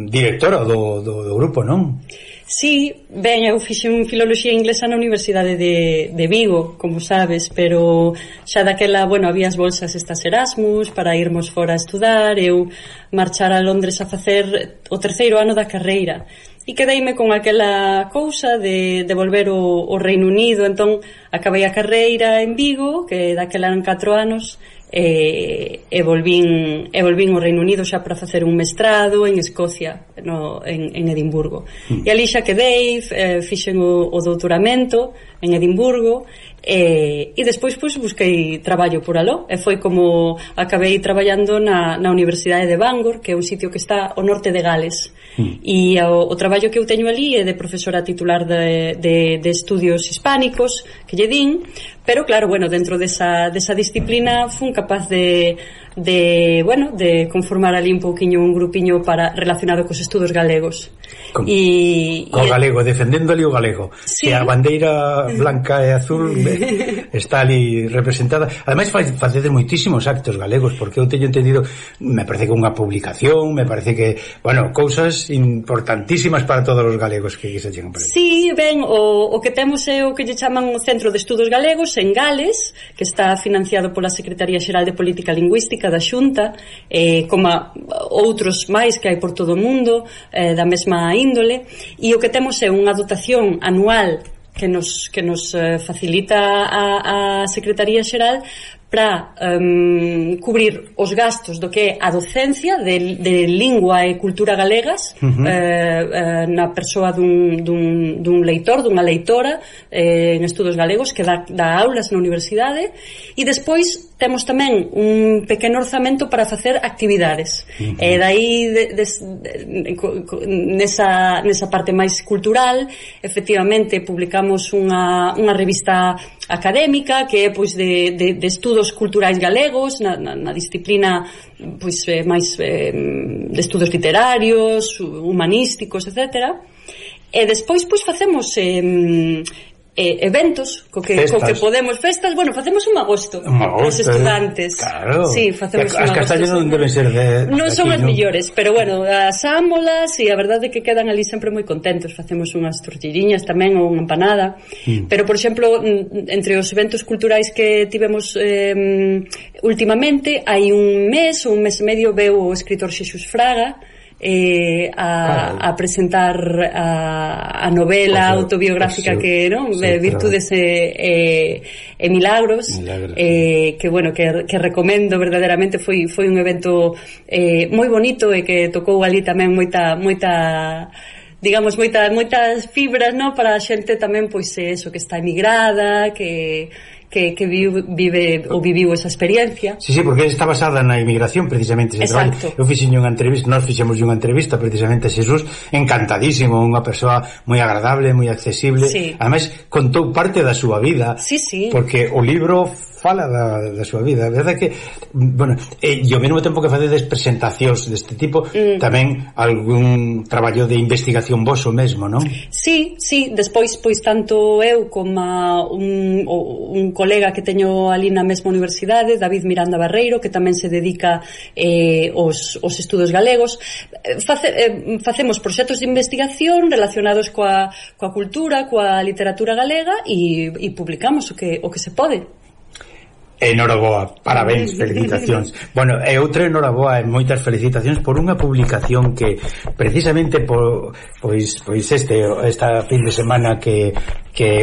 directora do grupo, non? Sí, ben, eu fixen filoloxía inglesa na Universidade de Vigo, como sabes, pero xa daquela, bueno, había as bolsas estas Erasmus para irmos fora a estudar, eu marchar a Londres a facer o 3º ano da carreira e quedeime con aquela cousa de volver ao Reino Unido. Entón acabei a carreira en Vigo, que daquela eran 4 anos, e volvín ao Reino Unido xa para facer un mestrado en Escocia, en Edimburgo. E ali xa quedei, fixen o doutoramento en Edimburgo, e despois busquei traballo por aló, e foi como acabei traballando na Universidade de Bangor, que é un sitio que está ao norte de Gales. E o traballo que eu teño ali é de profesora titular de estudios hispánicos, que lle din, pero claro, bueno, dentro desa disciplina fun capaz de conformar ali un pouquiño un grupiño relacionado cos estudos galegos. Co galego, defendendo ali o galego. Sí. Que a bandeira blanca e azul está ali representada. Ademais facedes moitísimos actos galegos, porque eu teño entendido, me parece que unha publicación, me parece que, bueno, cousas importantísimas para todos os galegos que se chegan por aí. Sí, ben, o que temos é o que lle chaman o Centro de Estudos Galegos en Gales, que está financiado pola Secretaría Xeral de Política Lingüística da Xunta, como outros máis que hai por todo o mundo, da mesma índole, e o que temos é unha dotación anual que nos facilita a Secretaría Xeral para cubrir os gastos do que é a docencia de lingua e cultura galegas, na persoa dun leitor, dunha leitora en estudos galegos que dá aulas na universidade, e despois temos tamén un pequeno orzamento para facer actividades, e dai nesa parte máis cultural efectivamente publicamos unha revista académica que é pois de estudos culturais galegos na disciplina pois máis de estudos literarios, humanísticos, etc. E despois pois facemos eventos co que podemos, festas, bueno, facemos un agosto os estudantes, claro. Sí, facemos as castañas non deben ser non son as millores, pero bueno, asámolas e a verdade é que quedan ali sempre moi contentos. Facemos unhas tortilliñas tamén ou unha empanada, pero por exemplo, entre os eventos culturais que tivemos últimamente, hai un mes ou un mes e medio veu o escritor Xesús Fraga a presentar a novela autobiográfica que, non? Sí, Virtudes e Milagros, que bueno, que recomendo verdadeiramente. Foi un evento moi bonito e que tocou ali tamén moitas fibras, non? Para a xente tamén, pois eso, que está emigrada, que vive ou viviu esa experiencia. Sí, porque está basada na inmigración precisamente ese traballo. Eu fixen unha entrevista, nós fixemos unha entrevista precisamente a Xesús, encantadísimo, unha persoa moi agradable, moi accesible, ademais contou parte da súa vida, porque o libro fala da súa vida. A verdade é que, bueno, e ao mesmo tempo que facedes presentacións deste tipo, tamén algún traballo de investigación voso mesmo, non? Sí, despois, pois, tanto eu como un colega que teño ali na mesma universidade, David Miranda Barreiro, que tamén se dedica aos estudos galegos, facemos proxectos de investigación relacionados coa cultura, coa literatura galega, e publicamos o que se pode. Enhoraboa, parabéns, felicitacións. Bueno, e outra enhoraboa e moitas felicitacións por unha publicación que precisamente pois esta fin de semana que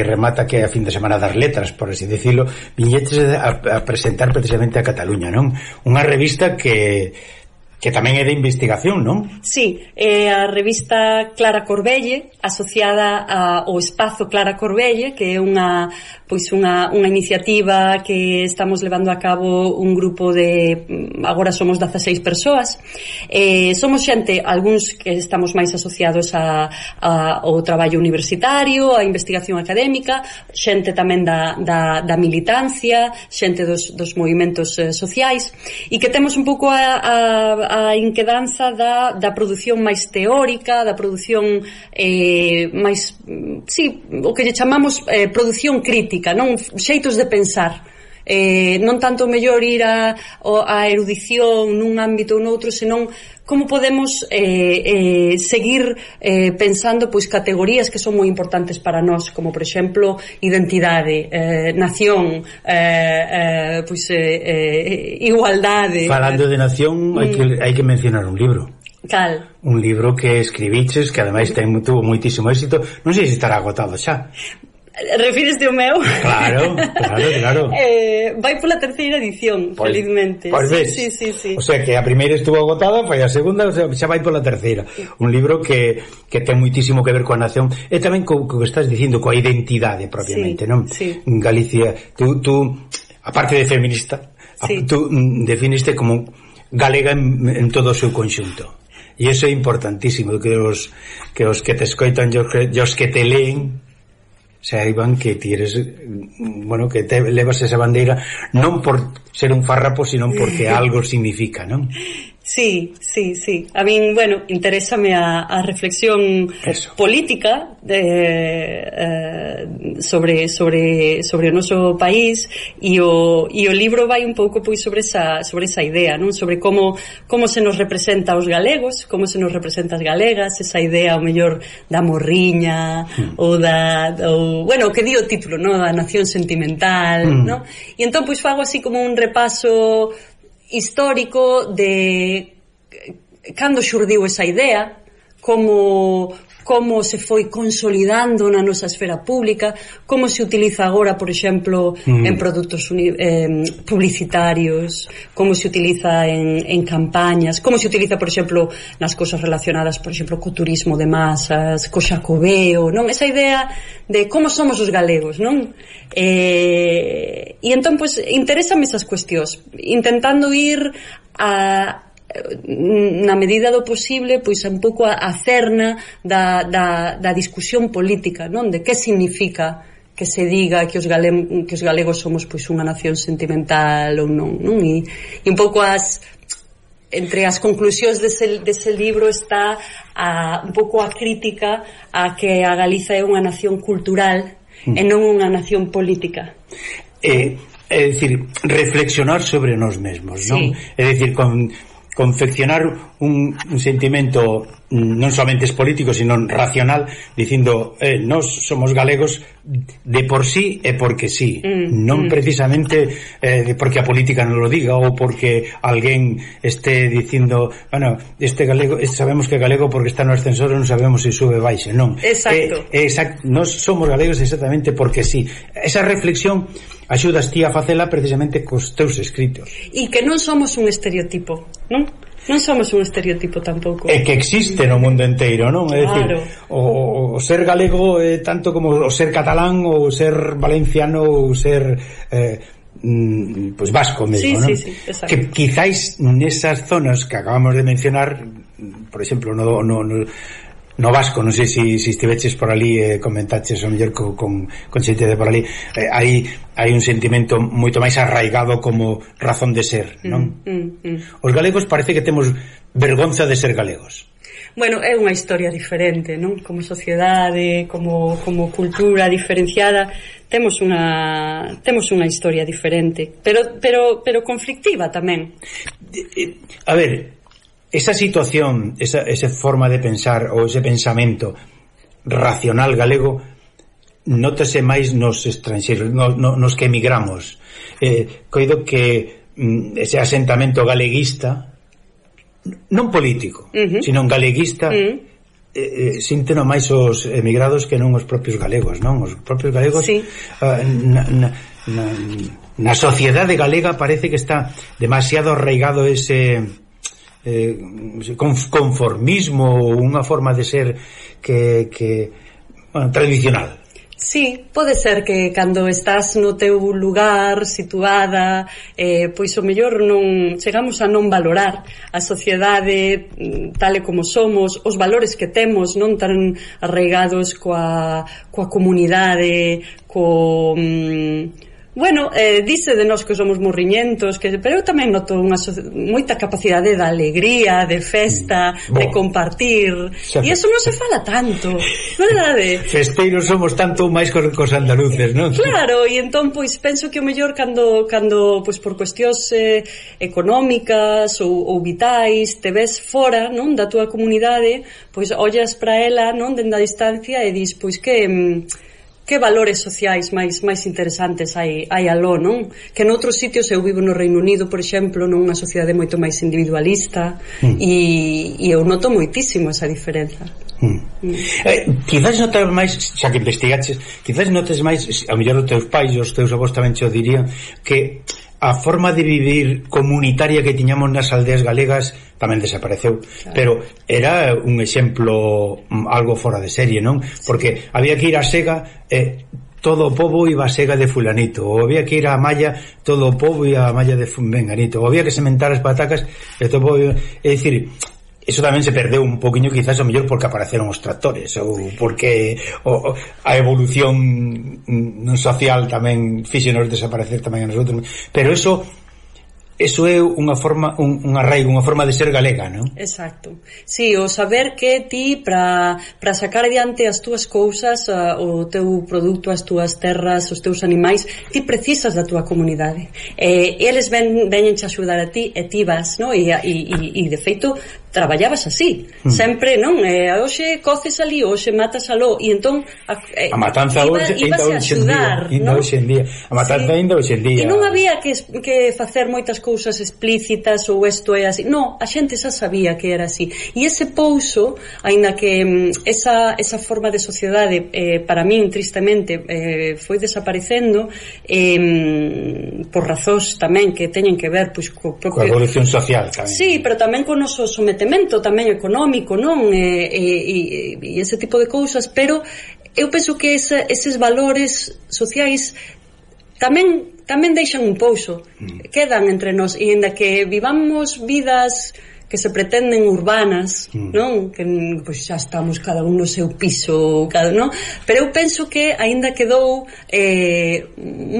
remata, que é a fin de semana das letras, por así decirlo, viñetes a presentar precisamente a Cataluña, non? Unha revista que que tamén é de investigación, non? Sí, a revista Clara Corbelle, asociada ao espazo Clara Corbelle, que é unha iniciativa que estamos levando a cabo un grupo de, agora somos 16 persoas, somos xente, algúns que estamos máis asociados ao traballo universitario, a investigación académica, xente tamén da militancia, xente dos movimentos sociais, e que temos un pouco a inquedanza da produción máis teórica, da produción máis, sí, o que lle chamamos produción crítica, non xeitos de pensar, non tanto mellor ir a erudición nun ámbito ou noutro, senón como podemos seguir pensando pois categorías que son moi importantes para nós, como por exemplo identidade, nación, igualdade. Falando de nación, hai que mencionar un libro. Cal? Un libro que escribiches, que ademais tuvo moitísimo éxito, non sei se estará agotado xa. Refires ao meu? Claro. Vai pola terceira edición, felizmente. Pois ves. Sí. O sea, que a primeira estuvo agotada, foi a segunda, o sea, xa vai pola terceira. Un libro que ten muitísimo que ver coa nación e tamén co que estás dicindo, coa identidade propiamente, non? Sí. En Galicia, tú aparte de feminista, tú definiste como galega en todo o seu conxunto. E iso é importantísimo, que os que te escoitan e os que te leen saiban que ti eres, bueno, que te levas esa bandeira non por ser un farrapo, sino porque algo significa, non? Sí. A min, bueno, interésame a reflexión política sobre o noso país e o libro vai un pouco pois sobre esa idea, non? Sobre como se nos representa os galegos, como se nos representa as galegas, esa idea ao mellor da morriña ou bueno, que di o título, non? Da nación sentimental, non? E entón pois fago así como un repaso histórico de cando xurdiu esa idea, como se foi consolidando na nosa esfera pública, como se utiliza agora, por exemplo, en produtos publicitarios, como se utiliza en campañas, como se utiliza, por exemplo, nas cosas relacionadas, por exemplo, co turismo de masas, co xacobeo, non? Esa idea de como somos os galegos, non? E entón, pois, interésame esas cuestións, intentando ir na medida do posible pois un pouco a cerna da discusión política, non? De que significa que se diga que os galegos somos pois unha nación sentimental ou non, non? E un pouco entre as conclusións dese libro está un pouco a crítica a que a Galiza é unha nación cultural e non unha nación política. É dicir, reflexionar sobre nós mesmos, non? É dicir, confeccionar un sentimento non somente político, sino racional, dicindo nós somos galegos de por sí e porque sí, non precisamente porque a política non lo diga ou porque alguén este dicindo, bueno, este galego, sabemos que é galego porque está no ascensor e non sabemos se sube baixe, non. Exacto. Nós somos galegos exactamente porque sí. Esa reflexión axudas ti a facela precisamente cos teus escritos. E que non somos un estereotipo, non? Non somos un estereotipo tampouco. É que existe no mundo inteiro, non? É dicir, o ser galego é tanto como o ser catalán ou ser valenciano ou ser pois vasco mesmo, non? Sí, exacto. Que quizáis nesas zonas que acabamos de mencionar, por exemplo, no vasco, non sei se estiveches por ali comentaches o mellor con xente de por ali, hai un sentimento moito máis arraigado como razón de ser, non? Os galegos parece que temos vergonza de ser galegos. Bueno, é unha historia diferente, non? Como sociedade, como cultura diferenciada, temos unha historia diferente, pero conflictiva tamén. A ver, esa situación, esa forma de pensar ou ese pensamento racional galego nótase máis nos estranxeiros, nos que emigramos. Coido que ese asentamento galeguista, non político, sino galeguista, sínteno máis os emigrados que non os propios galegos, non? Os propios galegos na sociedade galega parece que está demasiado arraigado ese conformismo ou unha forma de ser que tradicional. Sí, pode ser que cando estás no teu lugar situada, pois o mellor non chegamos a non valorar a sociedade tal e como somos, os valores que temos non tan arraigados coa comunidade, bueno, dice de nós que somos morriñentos, pero eu tamén noto moita capacidade de alegría, de festa, de compartir, e iso non se fala tanto, verdade? Festeiros somos tanto máis cos andaluces, non? Claro, e entón, pois, penso que o mellor cando pois, por cuestións económicas ou vitais, te ves fora, non, da túa comunidade, pois, ollas para ela, non, dende a distancia e dis, pois, que valores sociais máis interesantes hai aló, non? Que noutros sitios, eu vivo no Reino Unido, por exemplo, nunha sociedade moito máis individualista, e eu noto moitísimo esa diferenza. Quizás notas máis, xa que investigaches, quizás notes máis, a mellor os teus pais e os teus avós tamén cho dirían, que a forma de vivir comunitaria que tiñamos nas aldeas galegas tamén desapareceu, claro. Pero era un exemplo algo fora de serie, non? Porque había que ir a Sega, todo o pobo iba a Sega de fulanito, ou había que ir a Malla, todo o pobo ia a Malla de menganito, ou había que sementar as patacas e todo o pobo iba... É dicir, eso tamén se perdeu un poquinho, quizás o mellor porque apareceron os tractores, ou porque a evolución social tamén fíxenos desaparecer tamén a nosotros, pero eso é unha forma, un arraigo, unha forma de ser galega, non? Exacto. Sí, o saber que ti para sacar adiante as túas cousas, o teu produto, as túas terras, os teus animais, ti precisas da túa comunidade. Eles veñenche a axudar a ti e ti vas, non? E de feito traballabas así, sempre, non? Hoxe coces ali, hoxe matas aló, e entón a matanza ainda hoxe en día, a matanza ainda hoxe en día. E non había que facer moitas cousas explícitas ou isto é así, non, a xente xa sabía que era así, e ese pouso, aínda que esa forma de sociedade para min tristemente foi desaparecendo por razóns tamén que teñen que ver pois coa evolución social tamén. Sí, pero tamén con o noso sometemento tamén económico, non? E ese tipo de cousas, pero eu penso que eses valores sociais tamén deixan un pouso, quedan entre nós, e ainda que vivamos vidas que se pretenden urbanas, non? Que pois xa estamos cada un no seu piso, non? Pero eu penso que aínda quedou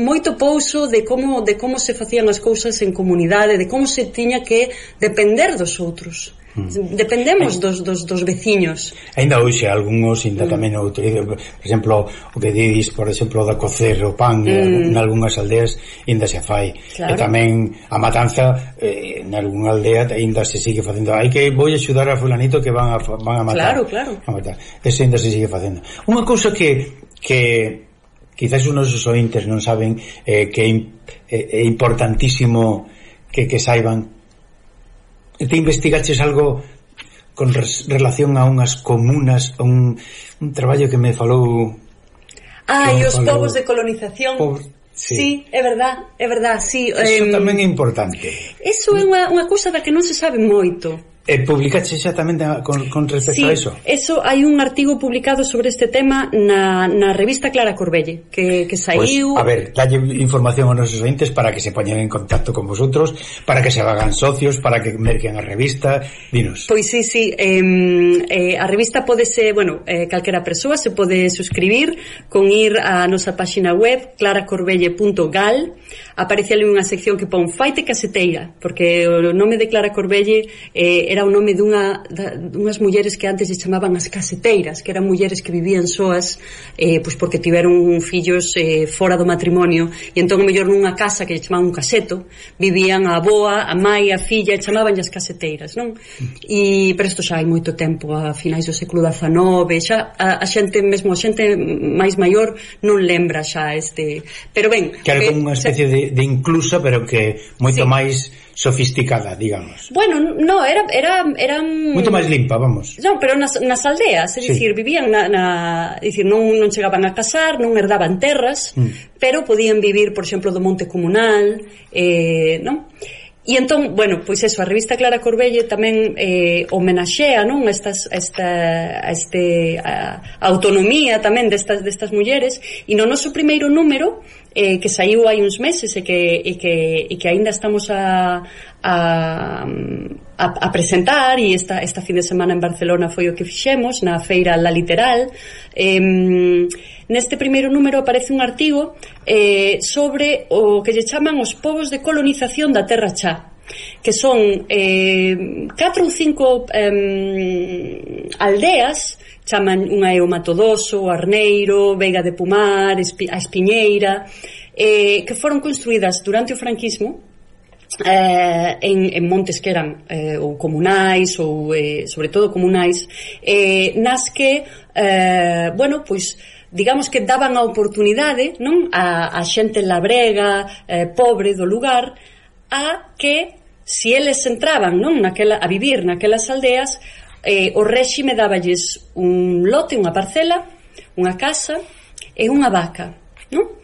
moito pouso de como se facían as cousas en comunidade, de como se tiña que depender dos outros. Dependemos dos veciños. Ainda hoxe algúns ainda tamén o utilizan, por exemplo, o que dís, por exemplo, da cocer o pan en algunhas aldeas ainda se fai, claro. E tamén a matanza en algunha aldea ainda se sigue facendo. Hai que vou axudar a fulanito que van a matar. Claro. A matar. Eso ainda se sigue facendo. Unha cousa que quizás os nosos ointes non saben, que é importantísimo que saiban. Te investigaches algo con relación a unhas comunas, a un traballo que me falou... e os povos de colonización. Sí, é verdad, sí. Eso tamén é importante. Eso é unha cousa da que non se sabe moito. Publicaste xa tamén con respecto a eso? Sí, eso, hai un artigo publicado sobre este tema na revista Clara Corbelle, que saiu... Pues, a ver, dalle información aos nosos ointes para que se poñan en contacto con vosotros, para que se hagan socios, para que merquen a revista, dinos. Pois sí, a revista podese, calquera persoa se pode suscribir con ir a nosa página web claracorbelle.gal. Aparece ali unha sección que pon Faite Caseteira, porque o nome de Clara Corbelle era o nome dunhas mulleres que antes se chamaban as caseteiras, que eran mulleres que vivían soas, pois porque tiveron fillos fora do matrimonio, e entón mellor nunha casa que lle chamaban un caseto vivían a avoa, a mai, a filla, e chamaban as caseteiras, non? Pero isto xa hai moito tempo, a finais do século XIX, xa a xente, mesmo a xente máis maior non lembra xa pero ben, que era como unha especie de inclusa, pero que moito máis sofisticada, digamos. Bueno, no, eran moito máis limpa, vamos. Non, pero nas aldeas, é dicir, vivían dicir, non chegaban a casar, non herdaban terras, pero podían vivir, por exemplo, do monte comunal, non? E entón, bueno, pois eso, a revista Clara Corbelle tamén homenaxea, non, esta autonomía tamén destas mulleres, e no noso primeiro número, que saiu hai uns meses e que aínda estamos a presentar, e esta fin de semana en Barcelona foi o que fixemos na feira La Literal. Neste primeiro número aparece un artigo sobre o que lle chaman os povos de colonización da Terra Chá, que son 4 ou 5 aldeas, chaman unha é o Matodoso, o Arneiro, Veiga de Pomar, a Espiñeira, que foron construídas durante o franquismo en montes que eran ou comunais, ou sobre todo comunais, nas que bueno, pois digamos que daban a oportunidade, non, a xente labrega, pobre do lugar, a que se eles entraban, non, a vivir naquelas aldeas, o réxime dáballes un lote, unha parcela, unha casa e unha vaca, non?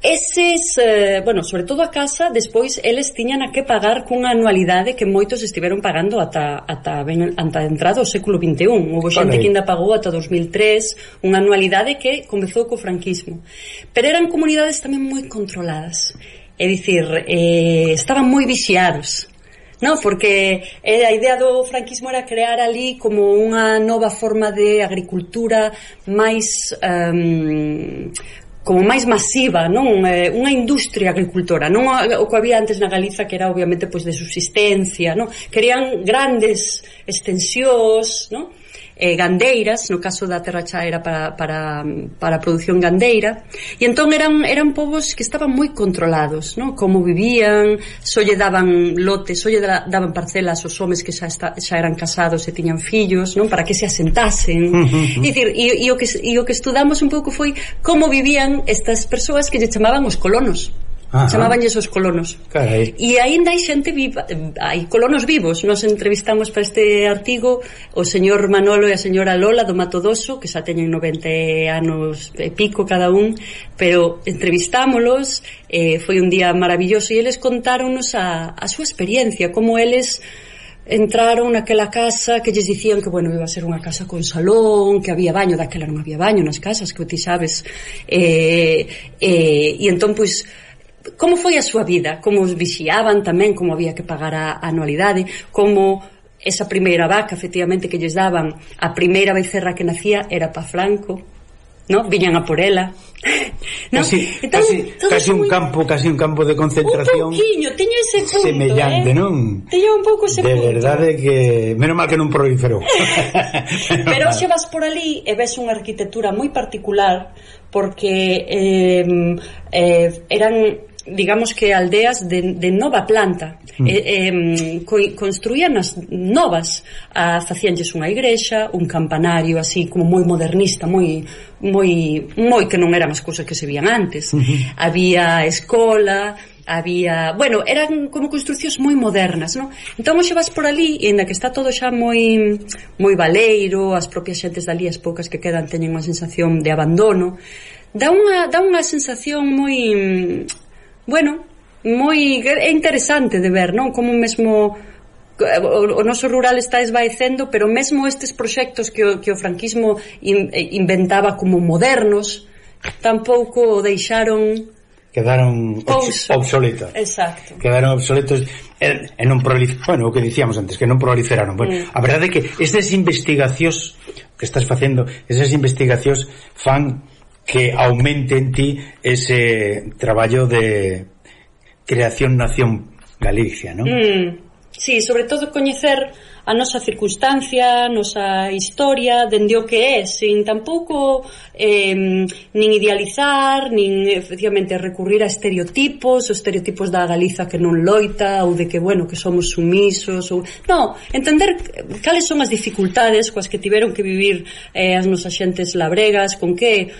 Eses, bueno, sobre todo a casa, despois eles tiñan a que pagar cunha anualidade que moitos estiveron pagando ata entrado ao século XXI. Houve xente que ainda pagou ata 2003, unha anualidade que comezou co franquismo. Pero eran comunidades tamén moi controladas, é dicir, estaban moi vixiados, non? Porque a idea do franquismo era crear ali como unha nova forma de agricultura máis como máis masiva, non? Unha industria agricultora, non o que había antes na Galiza, que era obviamente pois de subsistencia, non? Querían grandes extensións, non? Gandeiras, no caso da Terra Chá era para a produción gandeira, e entón eran povos que estaban moi controlados, non? Como vivían, só lle daban lotes, só lle daban parcelas aos homes que xa eran casados e tiñan fillos, non? Para que se asentasen. Dicir, e o que estudamos un pouco foi como vivían estas persoas que lle chamaban os colonos. Chamabanlles os colonos. Carai. E aínda hai xente viva, hai colonos vivos. Nos entrevistamos para este artigo o señor Manolo e a señora Lola do Matodoso, que xa teñen 90 anos e pico cada un, pero entrevistámolos, foi un día maravilloso, e eles contáronnos a súa experiencia, como eles entraron naquela casa que lles dicían que, bueno, iba a ser unha casa con salón, que había baño, daquela non había baño nas casas, que ti sabes, e entón, pois, como foi a súa vida, como os vixiaban tamén, como había que pagar a anualidade, como esa primeira vaca, efectivamente, que lles daban, a primeira becerra que nacía era pa Franco, ¿no? Viñan a por ela, ¿no? Casi un campo de concentración, un pouquiño, teño ese punto semellante, non? Teño un pouco ese punto, de verdade que menos mal que non proliferou. Pero xe vas por ali e ves unha arquitectura moi particular, porque eran, digamos que aldeas de nova planta, construían as novas, facíanlles unha igrexa, un campanario así como moi modernista, moi que non eran as cousas que se vían antes. Había escola, había, bueno, eran como construcións moi modernas, non? Entón xe vas por ali, e ainda que está todo xa moi baleiro, as propias xentes dali, as poucas que quedan, teñen unha sensación de abandono. Dá unha sensación moi, bueno, é interesante de ver, non? Como mesmo o noso rural está esvaecendo, pero mesmo estes proxectos que o franquismo inventaba como modernos, tampouco deixaron, quedaron obsoletos. Exacto. Quedaron obsoletos e non proliferaron, bueno, o que dicíamos antes, que non proliferaron. Bueno, a verdade é que estas investigacións que estás facendo, esas investigacións fan que aumente en ti ese traballo de creación nación Galicia, non? Sí, sobre todo coñecer a nosa circunstancia, a nosa historia, dende o que é, sin tampouco nin idealizar, nin efectivamente recurrir a estereotipos, os estereotipos da Galiza que non loita, ou de que, bueno, que somos sumisos, ou... No, entender cales son as dificultades coas que tiveron que vivir as nosas xentes labregas, con que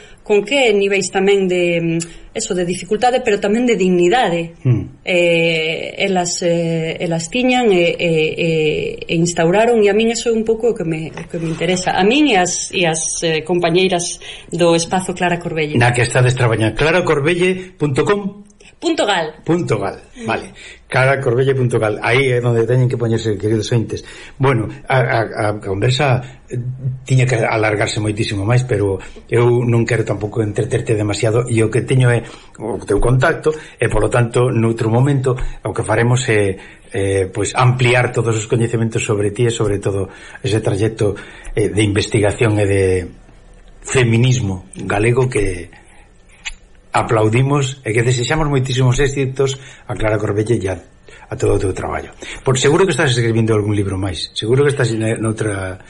niveis tamén de eso, de dificultade, pero tamén de dignidade elas tiñan e instauraron, e a min eso é un pouco o que me interesa, a min e as compañeiras do espazo Clara Corbelle. Na que estades traballando, claracorbelle.com. .gal. Vale. caracorbelle.gal. Aí é onde teñen que poñerse, queridos ointes. Bueno, a conversa tiña que alargarse moitísimo máis, pero eu non quero tampouco entreterte demasiado, e o que teño é o teu contacto, e polo tanto noutro momento o que faremos é pois ampliar todos os coñecementos sobre ti e sobre todo ese trayecto de investigación e de feminismo galego que aplaudimos e que desexamos moitísimos éxitos a Clara Corbelle e a todo o teu traballo. Por seguro que estás escribindo algún libro máis, seguro que estás noutra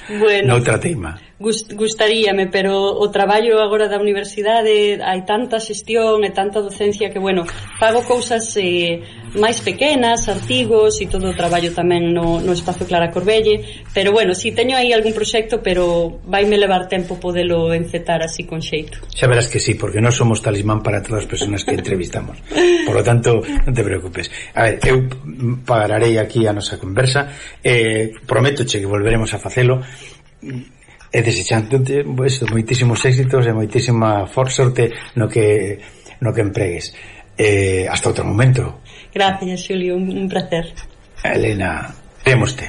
teima. Gustaríame, pero o traballo agora da universidade, hai tanta xestión e tanta docencia que, bueno, fago cousas máis pequenas, artigos e todo o traballo tamén no espazo Clara Corbelle, pero bueno, si teño aí algún proxecto, pero vaime levar tempo podelo encetar así con xeito. Xa verás que sí, porque non somos talismán para todas as persoas que entrevistamos. Por lo tanto, non te preocupes. A ver, eu pararei aquí a nosa conversa, prométoche que volveremos a facelo, e desexándote moitísimos éxitos e moitísima sorte no que empregues. Hasta outro momento. Gracias, Xulio, un placer. Elena, vémoste.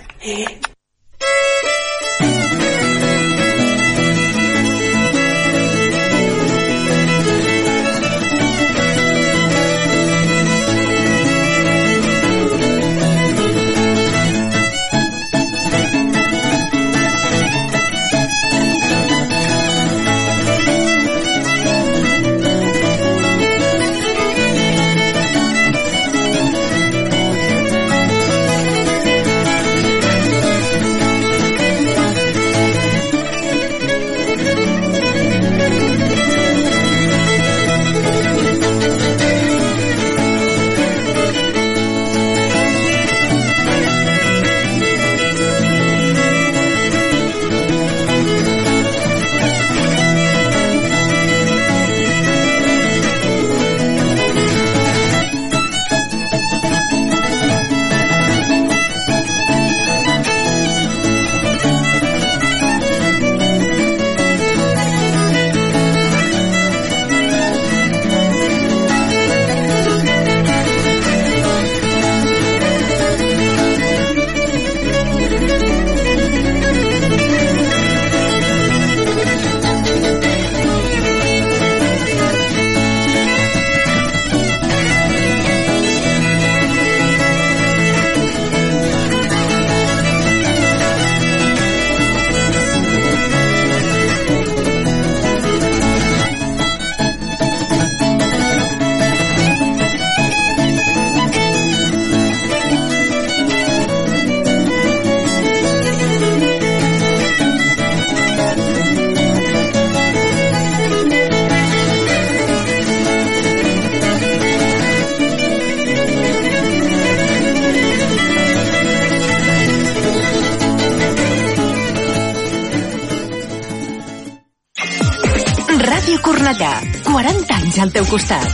Cornellà, 40 anys al teu costat.